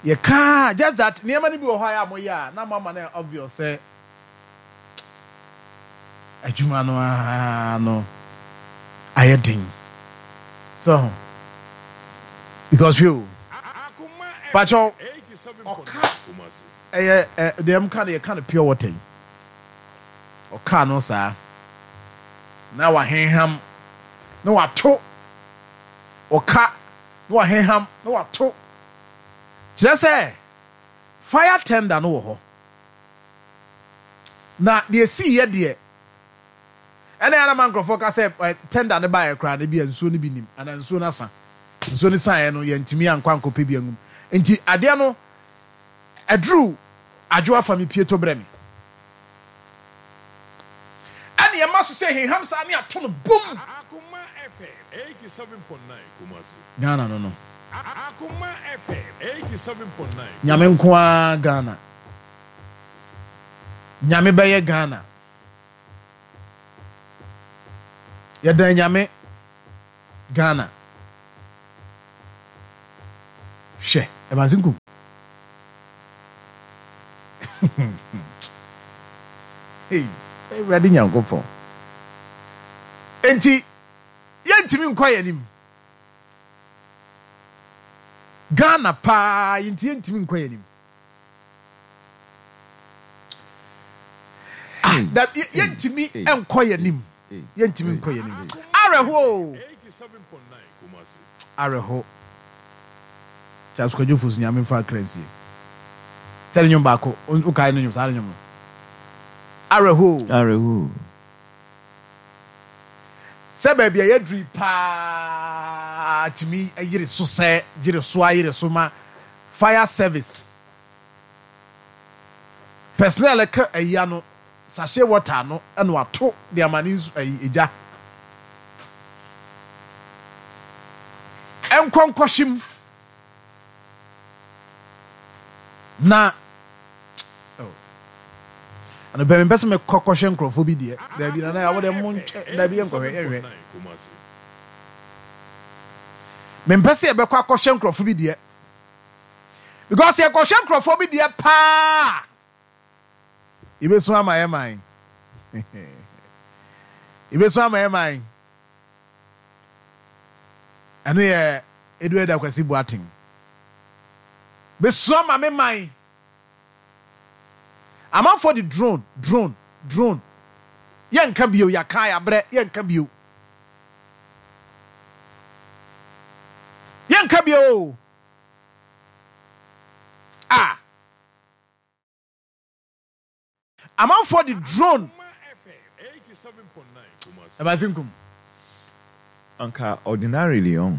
Yɛka just that nneɛma no bi wɔ hɔ a yɛ a moyɛ a na moama no obvious sɛ Adwuma no ara no ayɛ den. So ho. Because hwɛ o. Pakyɛw ɔka ɛyɛ ɛ deɛ mka no yɛka no pure water yi. Ɔka no saa na wahenham na wato. Ɔka na wahenham na wato. Kyerɛ sɛ fire tender no wɔ hɔ. Na deɛ ɛsiiɛ deɛ, ɛna ɛyɛ a na ma nkurɔfoɔ ka sɛ ɛ, tender no baeɛ koraa no ebia nsuo no bi nim anaa nsuo no asa. Nsuo no saeɛ no yɛntumi ankɔ ankɔpɛ bi angum. Nti adeɛ no ɛduru adwo afa me pie to brɛ me. Ɛne ɛma so. so sɛ heham saa ne ato no bum. Ghana no no. Nyame nko ara Ghana. Nyame bɛyɛ Ghana. Yɛdan Nyame Ghana. Hwɛ, Evans Nkum. Hey, Awurade Nyankopɔn. Enti, yɛntumi nkɔ yɛn anim. Ghana paa, yɛnti yɛntumi nkɔ yɛn anim. Ah, da, yɛntumi nkɔ yɛn anim. Yɛntumi nkɔ yɛn anim. Awerɛho o. Awerɛho. Charles Kwadwo Fosu Nyame mfa akra nsie. Sɛ ne nwom baako, wokae ne nwom saa ne nwom no. Awerɛho o. Awerɛho o. Sɛ baabi a yɛaduru yi paa tumi yere so sɛ yere so ayere so ma fire service personnel ka ayi ano sachet water ano na wato de ama ne nsu ayi egya nkɔ nkɔhye mu na oh anɔpɛ mempɛ sɛ mekɔ kɔhwɛ nkurɔfoɔ bi deɛ daabi nana yɛ wode mo ntwɛ daabi yɛnkɔhwɛ yɛhwɛ mempɛ sɛ yɛbɛkɔ akɔhwɛ nkurɔfoɔ bi deɛ because yɛkɔhwɛ nkurɔfoɔ bi deɛ paa yɛbɛsu ama yɛ man yɛbɛsu ama yɛ man ɛno yɛ Edward Akwasi Boateng bɛsu ama me man amanfoɔ de drone drone drone yɛnka bio yɛaka yɛabrɛ yɛnka bio yɛnka bio o ah Amanfoɔ de drone ɛba se nkum. Anka ordinarily ɔn,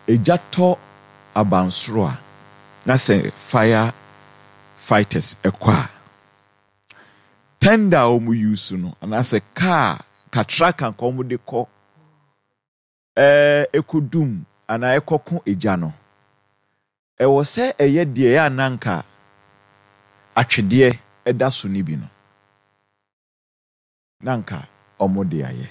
egya tɔ abansoro a na sɛ fire fighters kɔ a, tender a wɔn use no anaasɛ car katraka nka wɔn de kɔ ɛkɔdum anaa ɛkɔko egya no, Ɛwɔ sɛ ɛyɛ deɛ ɛyɛ a na anka atwedeɛ da so no bi no, na anka wɔde ayɛ.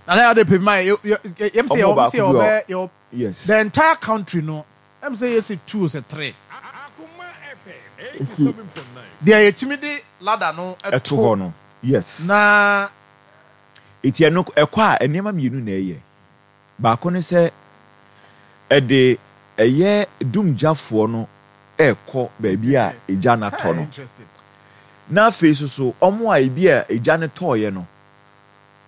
Nana yɛ ade pɛ ma yɛ yɛm sɛ Wɔn yɛ sɛ baako bi wɔ yɛ yɛ yes. the entire country no ɛm sɛ yɛ sɛ two sɛ three. Nti Deɛ yɛtumi de ladder no ɛto to hɔ no yes. na. Nti ɛno ɛkɔ a nneɛma mmienu na ɛyɛ. Baako ne sɛ, ɛde ɛyɛ dumgyafoɔ no rekɔ baabi a egya no atɔ no. Na afei nso so, wɔn a ebi a egya no tɔeɛ no,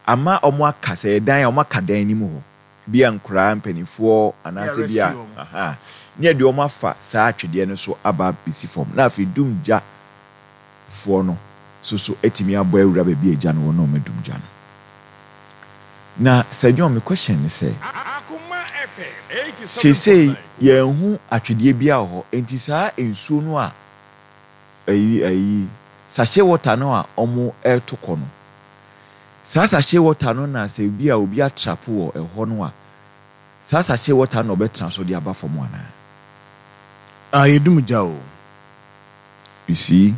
ama wɔaka, sɛ ɛyɛ dan a, wɔaka dan no mu hɔ. Bi a nkoraa, mpanimfoɔ, anaasɛ bi a, aha, ne yɛde wɔn afa saa atwedeɛ no so aba abɛsi fam. Na afei dumgya foɔ no so so atumi abɔ awura baabi a egya no wɔ na wɔadum gya no. Na Sir John me question ne sɛ, seesei yɛnhu atwedeɛ biara wɔ hɔ, enti saa nsuo no a ayi ayi sachet water no a wɔreto kɔ no, saa sachet water no na sɛ bi a obi atrapo wɔ ɛhɔ no a, saa sachet water no na ɔbɛtena so de aba fam anaa? Ah yɛdum gya o. You see,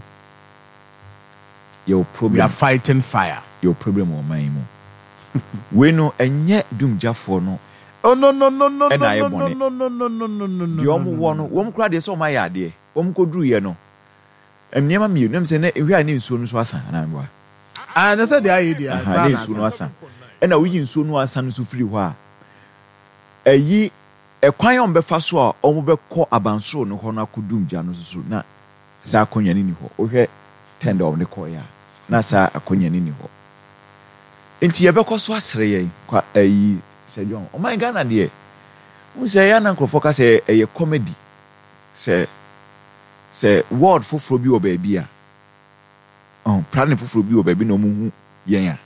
yɛwɔ We problem. are fighting fire. Yɛwɔ problem wɔ ɔman yi mu. Wei no ɛnyɛ dumgyafoɔ no Oh no no no no ɛna no ayɛ no bɔne. no no no no no no no Deɛ no wɔn no wɔ no, no. wɔn koraa deɛ sɛ wɔn ayɛ adeɛ. Wɔn kɔduruiɛ no, nneɛma mmienu, ɛm sɛ na ehwɛ a ne nsuo no nso asa anaa meboa? Ah, na sɛ deɛ ayɛ deɛ Aha, asa ne na nsuo no asa. asa. Ɛna woyi nsuo no asa no nso firi hɔ a, ɛyi ɛkwan a wɔbɛfa so a wɔbɛkɔ abansoro no hɔ no akɔdum gya no nso so na saa akonnwa no nni hɔ. Wohwɛ tɛnda a wɔde kɔeɛ a, na saa akonnwa no nni hɔ. Nti yɛbɛkɔ so asrɛ yɛn kwa ayi sɛ John, ɔman Ghana deɛ, wohu sɛ ɛyɛ a na nkurɔfoɔ ka sɛ ɛyɛ comedy sɛ sɛ world foforɔ bi wɔ baabi a, ɔho, planet foforɔ bi wɔ baabi na wɔhu yɛn a,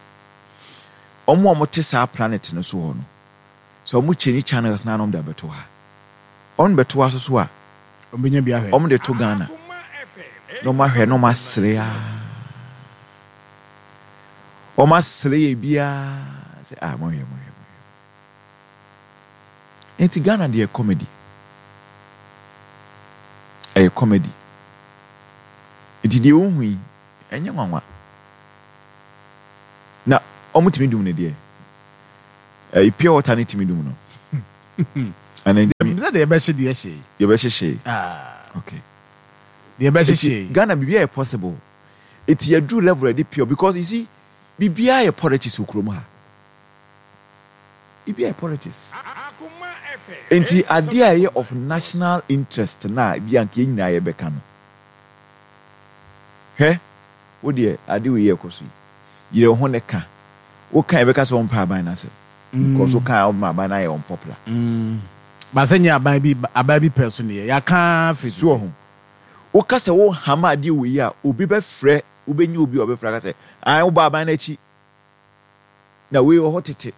wɔn a wɔte saa planet no so hɔ no, Sɛ ɔmo change channels no a na ɔmo de abɛto ha. Ɔmo de bɛto ha soso a, Ɔmo bɛnya bi ahwɛ. ɔmo de to Ghana na ɔmo ahwɛ na ɔmo asere aa. Wɔn asere yɛ biara sɛ ah monhwɛ monhwɛ monhwɛ. Nti Ghana deɛ comedy. Ɛyɛ comedy. Nti deɛ wohu yi ɛnyɛ nwanwa. Na wɔn tumi dum no deɛ. Ɛyi pure water ne tumi dum no. Ana ntumi. Sɛ deɛ ɛbɛhye deɛ hye. Yɛbɛhyehye. Ah. Okay. Deɛ ɛbɛhyehye. Ghana biribi ayɛ possible. Eti yɛduru level yɛde pure because you see biribiara yɛ politics wɔ kurom ha. Biribiara yɛ politics. Nti adeɛ a ɛyɛ of national interest na ebi anka yɛn nyinaa yɛbɛka no. Hwɛ, wo deɛ ade wei yɛ ɛkɔ so yi, yere wo ho ne ka. Wo ka yɛbɛka sɛ wompɛ aban no asɛm. Because wo ka a wobɛma aban no ayɛ unpopular. Ba sɛ nyɛ aban bi aban bi pɛ so ne yɛ. Yɛaka firi tete. So wahu? Woka sɛ wo hama adeɛ wei a, obi bɛfrɛ, wobɛnya obi a ɔbɛfrɛ aka sɛ, ae wobɔ aban no akyi. Na wei wɔ hɔ tete.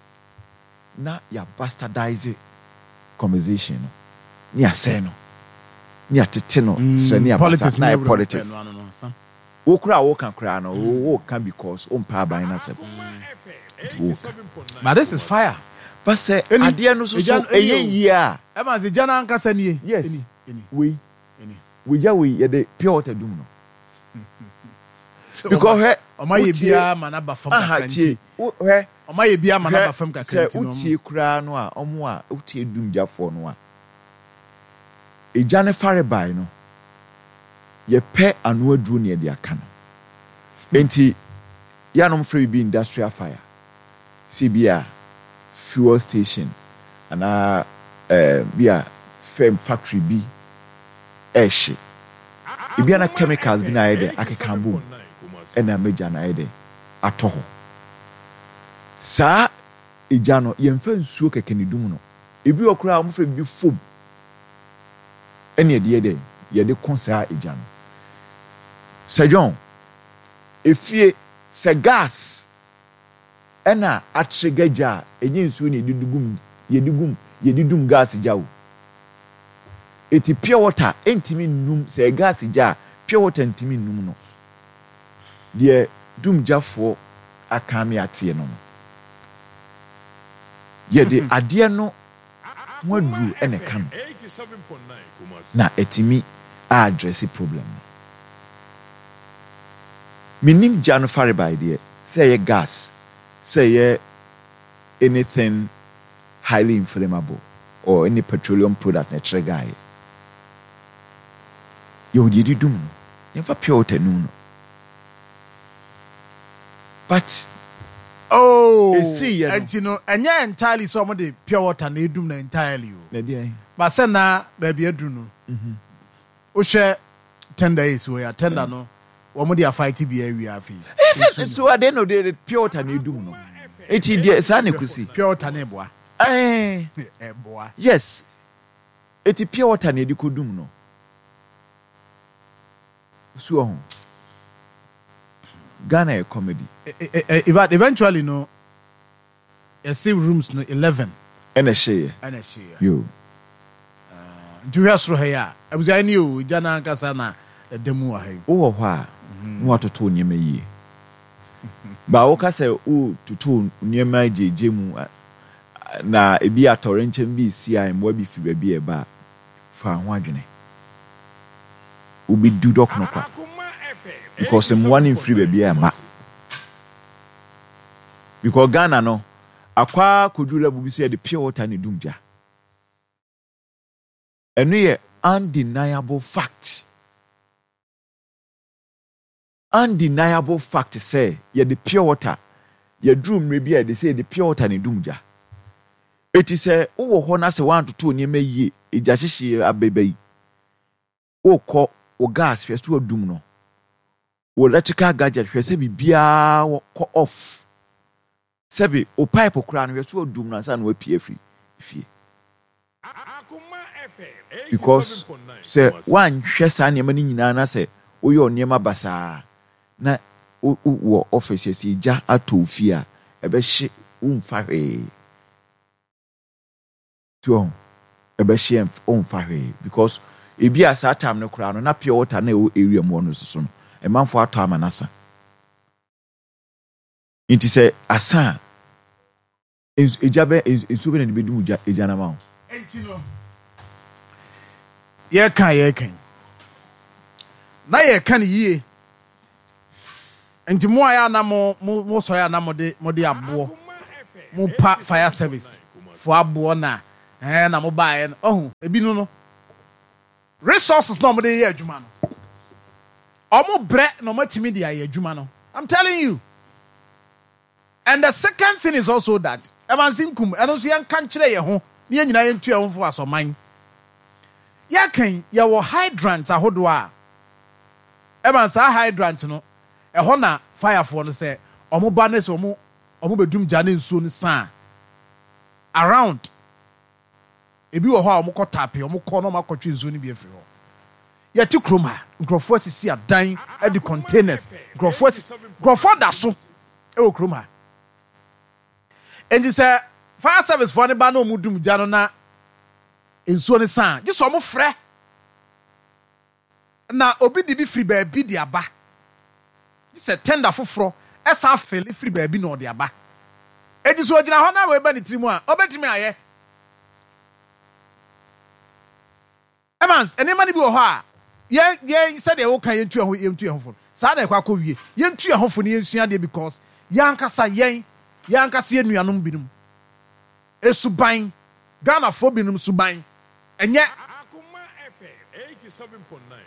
Na yɛ bastardize conversation no, ne yɛasɛe no, ne yɛatete no srɛ ne abasa, na ayɛ politics. Wo koraa a woka koraa no, woka because wompɛ aban no asɛm. Nti woka. But this is fire. But sɛ adeɛ no so so ɛyɛ yie a. Evans, egya no ankasa nie. Yes. Wei. Wegya wei yɛde pure water dum no. Because hwɛ. Ɔma yɛ biara ma n'aba fam kakra nti. Hwɛ. Ɔma yɛ biara ma n'aba fam kakra nti. Sɛ wotie koraa no a, ɔmo a wotie dum gyafoɔ no a, egya no farebae no, yɛpɛ ano aduro na yɛde aka no. Enti yɛanom frɛ biribi industrial fire. Sɛ bi a fuel station anaa bi a firm factory bi ɛrehye. Ebi a na chemicals bi na ayɛ dɛ akeka abom ɛna ama gya no ayɛ dɛ atɔ hɔ. Saa egya no yɛmfa nsuo kɛkɛ na edum no. Ebi wɔ koraa a wɔfrɛ biribi foam ɛna yɛde yɛ dɛn? Yɛde ko saa egya no. Sir John, efie sɛ gas ɛna atrigger gya a, ɛnyɛ nsuo na yɛde gum, yɛde gum, yɛde dum gas gya o. Eti pure water ɛntumi nnum, sɛ ɛyɛ gas gya a, pure water ntumi nnum no. Deɛ dum gyafoɔ aka ame ateɛ no no, yɛde adeɛ no ho aduro na ɛka no na atumi a address problem no. Mennim gya no farebae deɛ, sɛ ɛyɛ gas, sɛ ɛyɛ anything highly inflammable or any petroleum product na ɛkyerɛ gaeɛ. Yɛwɔ deɛ yɛde dum no, yɛmfa pure water num no. But Oh, ɛsiiɛ no. ɛnti no ɛnyɛ entirely sɛ wɔde pure water na ɛdum no entirely o. Na ɛdeɛn? But sɛ na baabi aduru no, wohwɛ tender yi si hɔ yi a, tender no wɔn de afight bi awie afei. Ɛsɛ so at the end of the day pure water na ɛdum no. Eti deɛ saa na ɛkɔsi. Pure water na ɛboa. Ɛɛ. Ɛboa. Yes. Eti pure water na ɛde kɔdum no. So wahu? Ghana yɛ comedy. In fact, eventually no, yɛse rooms no 11. Ɛna ɛhyeeɛ. Ɛna ɛhyeeɛ. Yo. Nti wohwɛ soro ha yi a, abusua yi ni o, gya no ankasa na ɛda mu wɔ ha yi. Wowɔ hɔ a, na watoto wo nneɛma yie. Ba woka sɛ wototo wo nneɛma gyegye mu na ebi atɔwrɛnkyɛm bi resi a mmoa bi firi baabi a ɛba a, Fa ho adwene. Wobɛdu dɔkono kwa. Because mmoa no mfiri baabi a ɛmma. Because Ghana no, akɔ ara kɔduru level bi sɛ yɛde pure water na ɛdum gya. Ɛno yɛ undeniable fact. Undeniable fact sɛ yɛde pure water, yɛduru mmerɛ bi a yɛde sɛ yɛde pure water na ɛdum gya. Eti sɛ wowɔ hɔ na sɛ woantoto nneɛma yie, egya hyehyeɛ abɛba yi, wokɔ wo gas hwɛ sɛ wadum no, wo electrical gadget hwɛ sɛ biribiara kɔ off. Sɛbe wo pipe koraa no hwɛ so adum no ansa na wapue afiri fie. Because sɛ woanhwɛ saa nneɛma no nyinaa na sɛ woyɛ wo nneɛma basaa na wowɔ office yɛsɛ egya atɔ wo fie a, ɛbɛhye womfa hwee. So wahu? Ɛbɛhye womfa hwee because ebi a saa time no koraa no na pure water na ɛwɔ area mu hɔ no soso no, ɛmanfoɔ atɔ ama no asa. Nti sɛ asa a, nsu, egya bɛ, nsuo bɛ na de bɛdum gya, egya no ama wo? Enti no, yɛreka a yɛreka yi, na yɛreka no yie. Nti mo a yɛ a na mo, mo, mosɔre a na mode, mode aboɔ, mopa fire service foɔ aboɔ na, ɛɛ, na mobaeɛ no, ɔho, ebi no no, resources na wɔde yɛ adwuma no, wɔn brɛ na wɔatumi de ayɛ adwuma no. I'm telling you. And the second thing is also that, Evans Nkum, ɛno nso yɛnka nkyerɛ yɛn ho na yɛn nyinaa yɛntu yɛn ho fo asɔman. Yɛka yi, yɛwɔ hydrant ahodoɔ a, Evans, saa hydrant no, ɛhɔ na firefoɔ no sɛ wɔn ba ne sɛ wɔn wɔn bɛdum gya ne nsuo no sa a, around Ebi wɔ hɔ a wɔkɔ tape, wɔkɔ na wɔakɔtwe nsuo no bi afiri hɔ. Yɛte kurom ha, nkurɔfoɔ asisi adan de containers, nkurɔfoɔ asi, nkurɔfoɔ da so wɔ kurom ha. Enti sɛ fire service foɔ no ba na wɔdum gya no na nsuo no sa a, gye sɛ wɔfrɛ. Na obi de bi firi baabi de aba. Gye sɛ tender foforɔ san fele firi baabi na ɔde aba. Enti sɛ ɔgyina hɔ na wei ba ne tirim a, ɔbɛtumi ayɛ. Evans, nneɛma no bi wɔ hɔ a, yɛn, yɛn, sɛdeɛ woka yɛntu yɛn ho, yɛntu yɛn ho fo no, saa na ɛkɔ akɔwie. Yɛntu yɛn ho fo na yɛnsua adeɛ because yɛn ankasa, yɛn, yɛn ankasa yɛn nuanom binom suban, Ghanafoɔ binom suban, ɛnyɛ.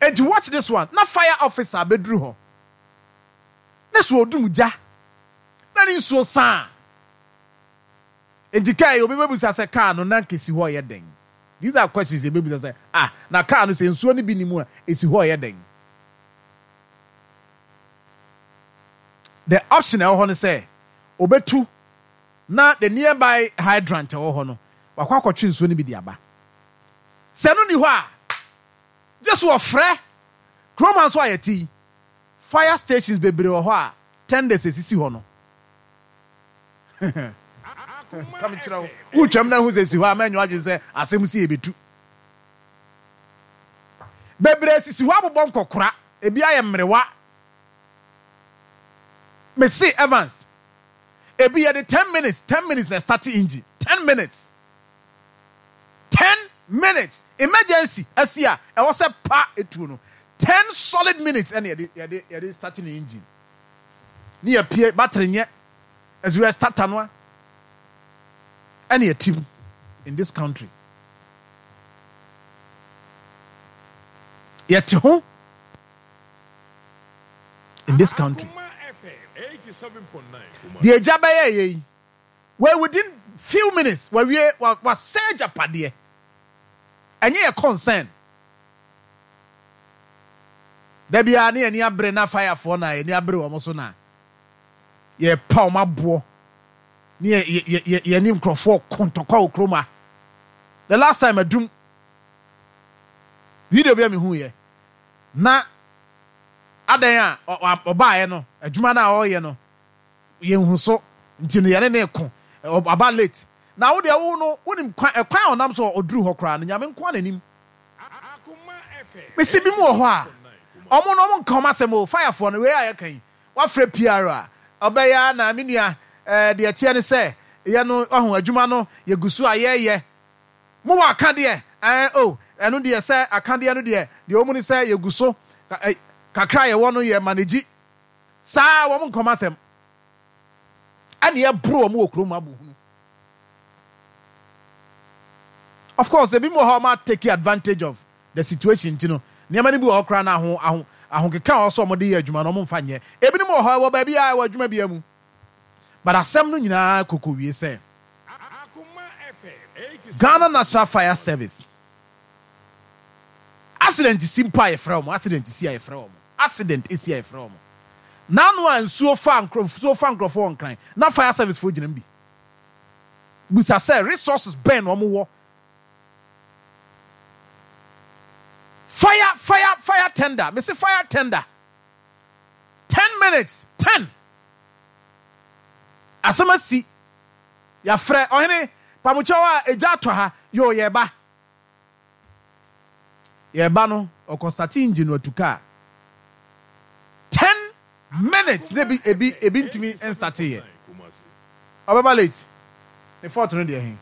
Enti watch this one, na fire officer abɛduru hɔ, na sɛ ɔdum gya na ne nsuo sa a, enti kaa yi obi bɛbisa sɛ kaa no na anka ɛsi hɔ reyɛ dɛn? These are questions yɛbɛbisa sɛ ah, na kaa no sɛ nsuo no bi nni mu a, ɛsi hɔ reyɛ dɛn? The option a ɛwɔ hɔ ne sɛ ɔbɛtu na the nearby hydrant a ɛwɔ hɔ no, wakɔ akɔtwe nsuo no bi de aba. Sɛ ɛno nni hɔ a, gye so wɔfrɛ. Kurom ha nso a yɛte yi, fire stations bebree wɔ hɔ a tenders esisi hɔ no. Ka mekyerɛ wo, wotwam na ahu sɛ esi hɔ a, mɛnyɛ w'adwene sɛ asɛm si ebetu. Bebree sisi hɔ abobɔ nkɔkora, ebi ayɛ mmerewa. Mese Evans, ebi yɛde 10 minutes, 10 minutes na ɛstarte engine, 10 minutes. Ten minutes emergency asi a ɛwɔ sɛ pa etuo no ten solid minutes ɛna yɛde yɛde yɛde start ne engine ne yɛ pie battery nyɛ ɛso yɛ starter no a ɛna yɛ tim in this country yɛte ho in this country deɛ egya bɛyɛ yɛ yi. Wei within few minutes wawie wasɛe agyapadeɛ. Ɛnyɛ yɛ concern. Da biara ne yɛni abere na firefoɔ na yɛni abere wɔn so na yɛpa wɔn aboɔ ne yɛ yɛ yɛ yɛne nkurɔfoɔ ko ntɔkwa wɔ kurom ha. The last time adum video bi a mehu yɛ na adan a ɔbaeɛ no adwuma no a ɔreyɛ no Yɛnhu so nti no yɛne no reko. Ɔba late. Na wo deɛ wo no wonim kwan ɛkwan a ɔnam so a ɔduru hɔ koraa no Nyame nko ara na nim. Mese binom wɔ hɔ a ɔmo no ɔmo nka ɔmo asɛm o fire foɔ no wei a yɛka yi wafrɛ PR a ɔbɛyɛ a na me nua ɛɛ deɛ ɛteɛ ne sɛ yɛ no wahu adwuma no yɛgu so a yɛyɛ mo wɔ akadeɛ ɛɛ o ɛno deɛ sɛ akadeɛ no deɛ deɛ ɔmu ne sɛ yɛgu so kakra a yɛwɔ no yɛ manage Saa wɔn nkɔm asɛm ɛna ɛboro wɔn wɔ kurom abohunu. Of course, ebi mu wɔ hɔ a wɔn take advantage of the situation nti no, nneɛma no bi wɔ hɔ koraa na aho aho ahokeka a ɔsɛ wɔn de yɛ adwuma no wɔn mfa nyɛ. Ebinom wɔ hɔ ɛwɔ baabi a ɛwɔ adwuma biara mu. But asɛm no nyinaa koko wie sɛ Ghana National Fire Service accident si mpo a yɛfrɛ wɔn accident si a yɛfrɛ wɔn. Accident esi a yɛfrɛ wɔn. N'ano a nsuo fa nsuo fa nkurɔfoɔ wɔ Nkran na fire service foɔ gyina mu bi. Bisa sɛ resources bɛn na wɔn wɔ. Fire fire fire tender mese fire tender ten minutes ten asɛm asi yɛafrɛ ɔhene pamokyɛw a egya atɔ ha yoo yɛba. Yɛreba no, ɔkɔ starte engine no atu kaa. 10. Minutes na ebi ebi ebi ntumi nstate yɛ. Ɔbɛba late. Ne fault no deɛ he?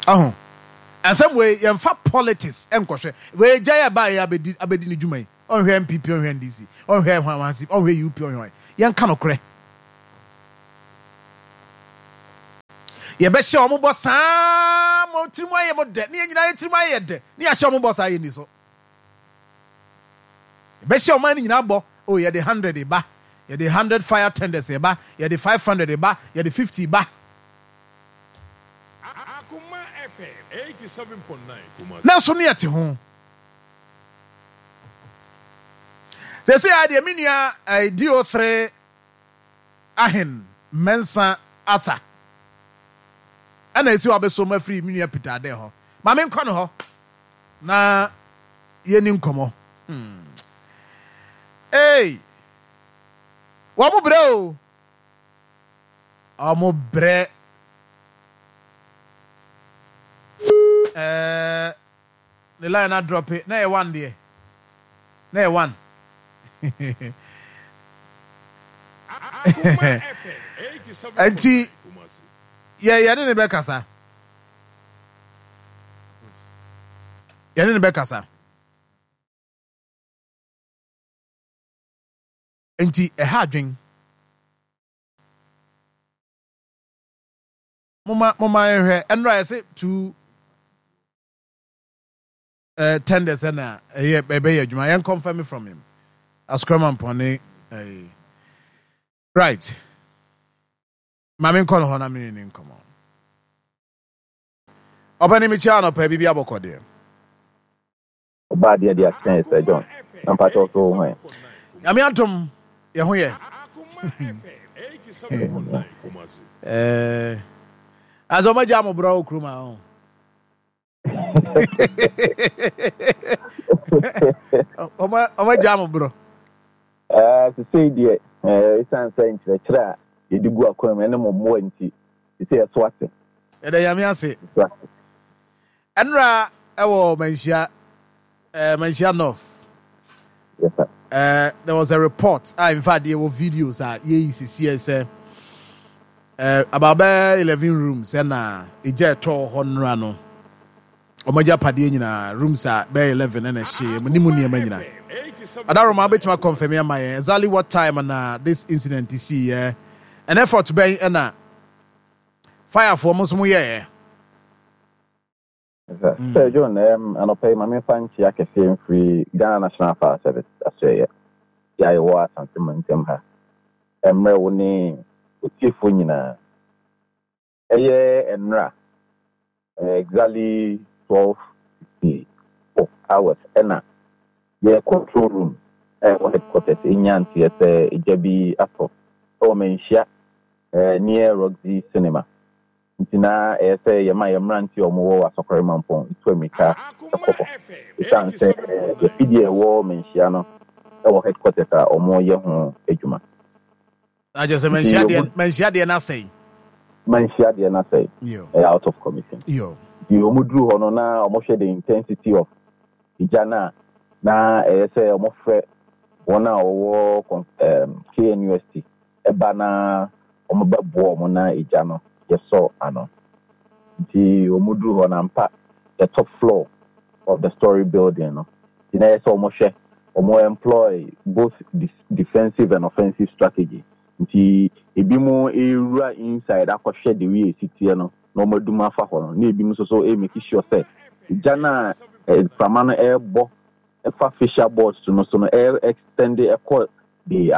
Aho. Asɛm wei yɛmfa politics nkɔhwɛ. Wei gya yɛ baayɛ abɛdi abɛdi ne dwuma yi. Ɔnhwɛ NPP, ɔnhwɛ NDC, ɔnhwɛ hwan hwan si, ɔnhwɛ UP, ɔnhwɛ hwan. Yɛnka nokorɛ. Yɛbɛhyɛ wɔn bɔ saa ma tirim ayɛ mo dɛ, ne yɛn nyinaa yɛ tirim ayɛ dɛ, ne yɛahyɛ wɔn bɔ saa yɛnni so. Yɛbɛhyɛ ɔman no nyinaa bɔ, oh yɛde hundred ba, yɛde hundred fire tenders ba, yɛde 500 ba, yɛde 50 ba. Nanso ne yɛte ho. Seesei ara deɛ me nua eh, DO3 Ahen Mensah Arthur ɛna esi hɔ abɛsom afiri me nua Peter Adeh hɔ. Ma menkɔ no hɔ na yɛni nkɔmmɔ. Hmm. Hey! Wɔn brɛ o. Wɔn brɛ. Ɛɛ. Ne line no adrɔpe na ɛyɛ one deɛ na ɛyɛ one. Nti yɛ yɛne ne bɛkasa yɛne ne bɛkasa nti ɛha adwen moma moma yɛhwɛ ɛnora yɛse two eh, tenders ɛna ɛyɛ ɛbɛyɛ adwuma yɛn confirm from him asokrama mpɔne eh, right maame nkɔ no hɔ na mene ne nkɔmɔ ɔpɛni mekyia anɔpa biribi abɔkɔ deɛ. Ɔbaa deɛ de akyɛn Sir John na mpakyɛw so wo ho ɛ? Nyame adom yɛ ho yɛ. Eh, asɛ ɔmo agya mo brɛ wɔ kurom a ɔn. Ɔmo agya mo borɔ. Eh, sesei deɛ eh, ɛsiane sɛ nkyerɛkyerɛ a yɛde gu akwan mu ɛne mo mmoa nti, sesei ɛso ate. Yɛda Nyame ase. Ɛso ate. Ɛnora ɛwɔ Manhyia, eh, Manhyia North. Yes, sir. There was a report a in fact yɛwɔ videos a yɛyi sisiɛ sɛ about bɛyɛ 11 rooms ɛna egya ɛtɔɔ hɔ nnora no wɔn agyapadeɛ nyinaa rooms a bɛyɛ 11 ɛna ɛhyeeɛ mu ne mu nneɛma nyinaa. Adaroma wobɛtumi akɔnfɛmi ama yɛn exactly what time na this incident siiɛ and effort bɛn ɛna firefoɔ mo nso mo yɛɛ. Sir John, anɔpa yi ma memfa nkyea kɛseɛ mfiri Ghana National Fire Service asoɛeɛ a yɛwɔ Asante mantam ha mmrɛ wo ne otiefoɔ nyinaa. Ɛyɛ nnora, exactly 12:54 hours ɛna yɛ control room a ɛwɔ headquarters nyaa nteɛ sɛ egya bi atɔ wɔ Manhyia near Roxy Cinema. Nti na ɛyɛ sɛ yɛma yɛn mmeranteɛ a wɔwɔ Asɔkɔre Mampɔn tu ammirika kɔ hɔ. Ɛsiane sɛ afidie a ɛwɔ Manhyia no wɔ headquarters a wɔyɛ ho adwuma. Na kyerɛ sɛ Manhyia deɛ Manhyia deɛ no asɛe. Manhyia deɛ no asɛe. Ɛyɛ out of commission. Nti wɔduru hɔ no na wɔhwɛ the intensity of egya no a, na ɛyɛ sɛ wɔfrɛ wɔn a wɔwɔ KNUST ba na wɔbɛboa wɔn na egya no yɛsɔ ano. Nti wɔduru hɔ no ampa the top floor of the story building no nti na ɛyɛ sɛ wɔhwɛ, wɔn employ both defensive and offensive strategy. Nti ebinom rewura inside akɔhwɛ the way esi teɛ no na wɔadum afa hɔ no na ebinom nso so remake sure sɛ egya no a mframa no rebɔ fa fascia boards no so no extend kɔ the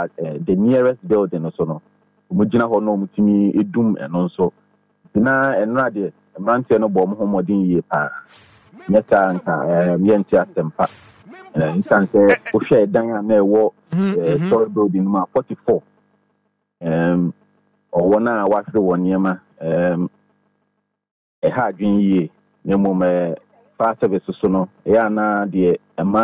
the nearest building no so no, wɔgyina hɔ na wɔtumi dum ɛno nso. Nti na ɛnora deɛ mmeranteɛ no bɔ wɔn ho mmɔden yie paa. Nyɛ saa nka yɛnte asɛmpa. Nsiane sɛ wohwɛ ɛdan a na ɛwɔ story building no mu a 44 wɔn a wɔahwere wɔn nneɛma ɛha adwene yie. Na mmom fire service so no ɛyɛ a na deɛ ɛma.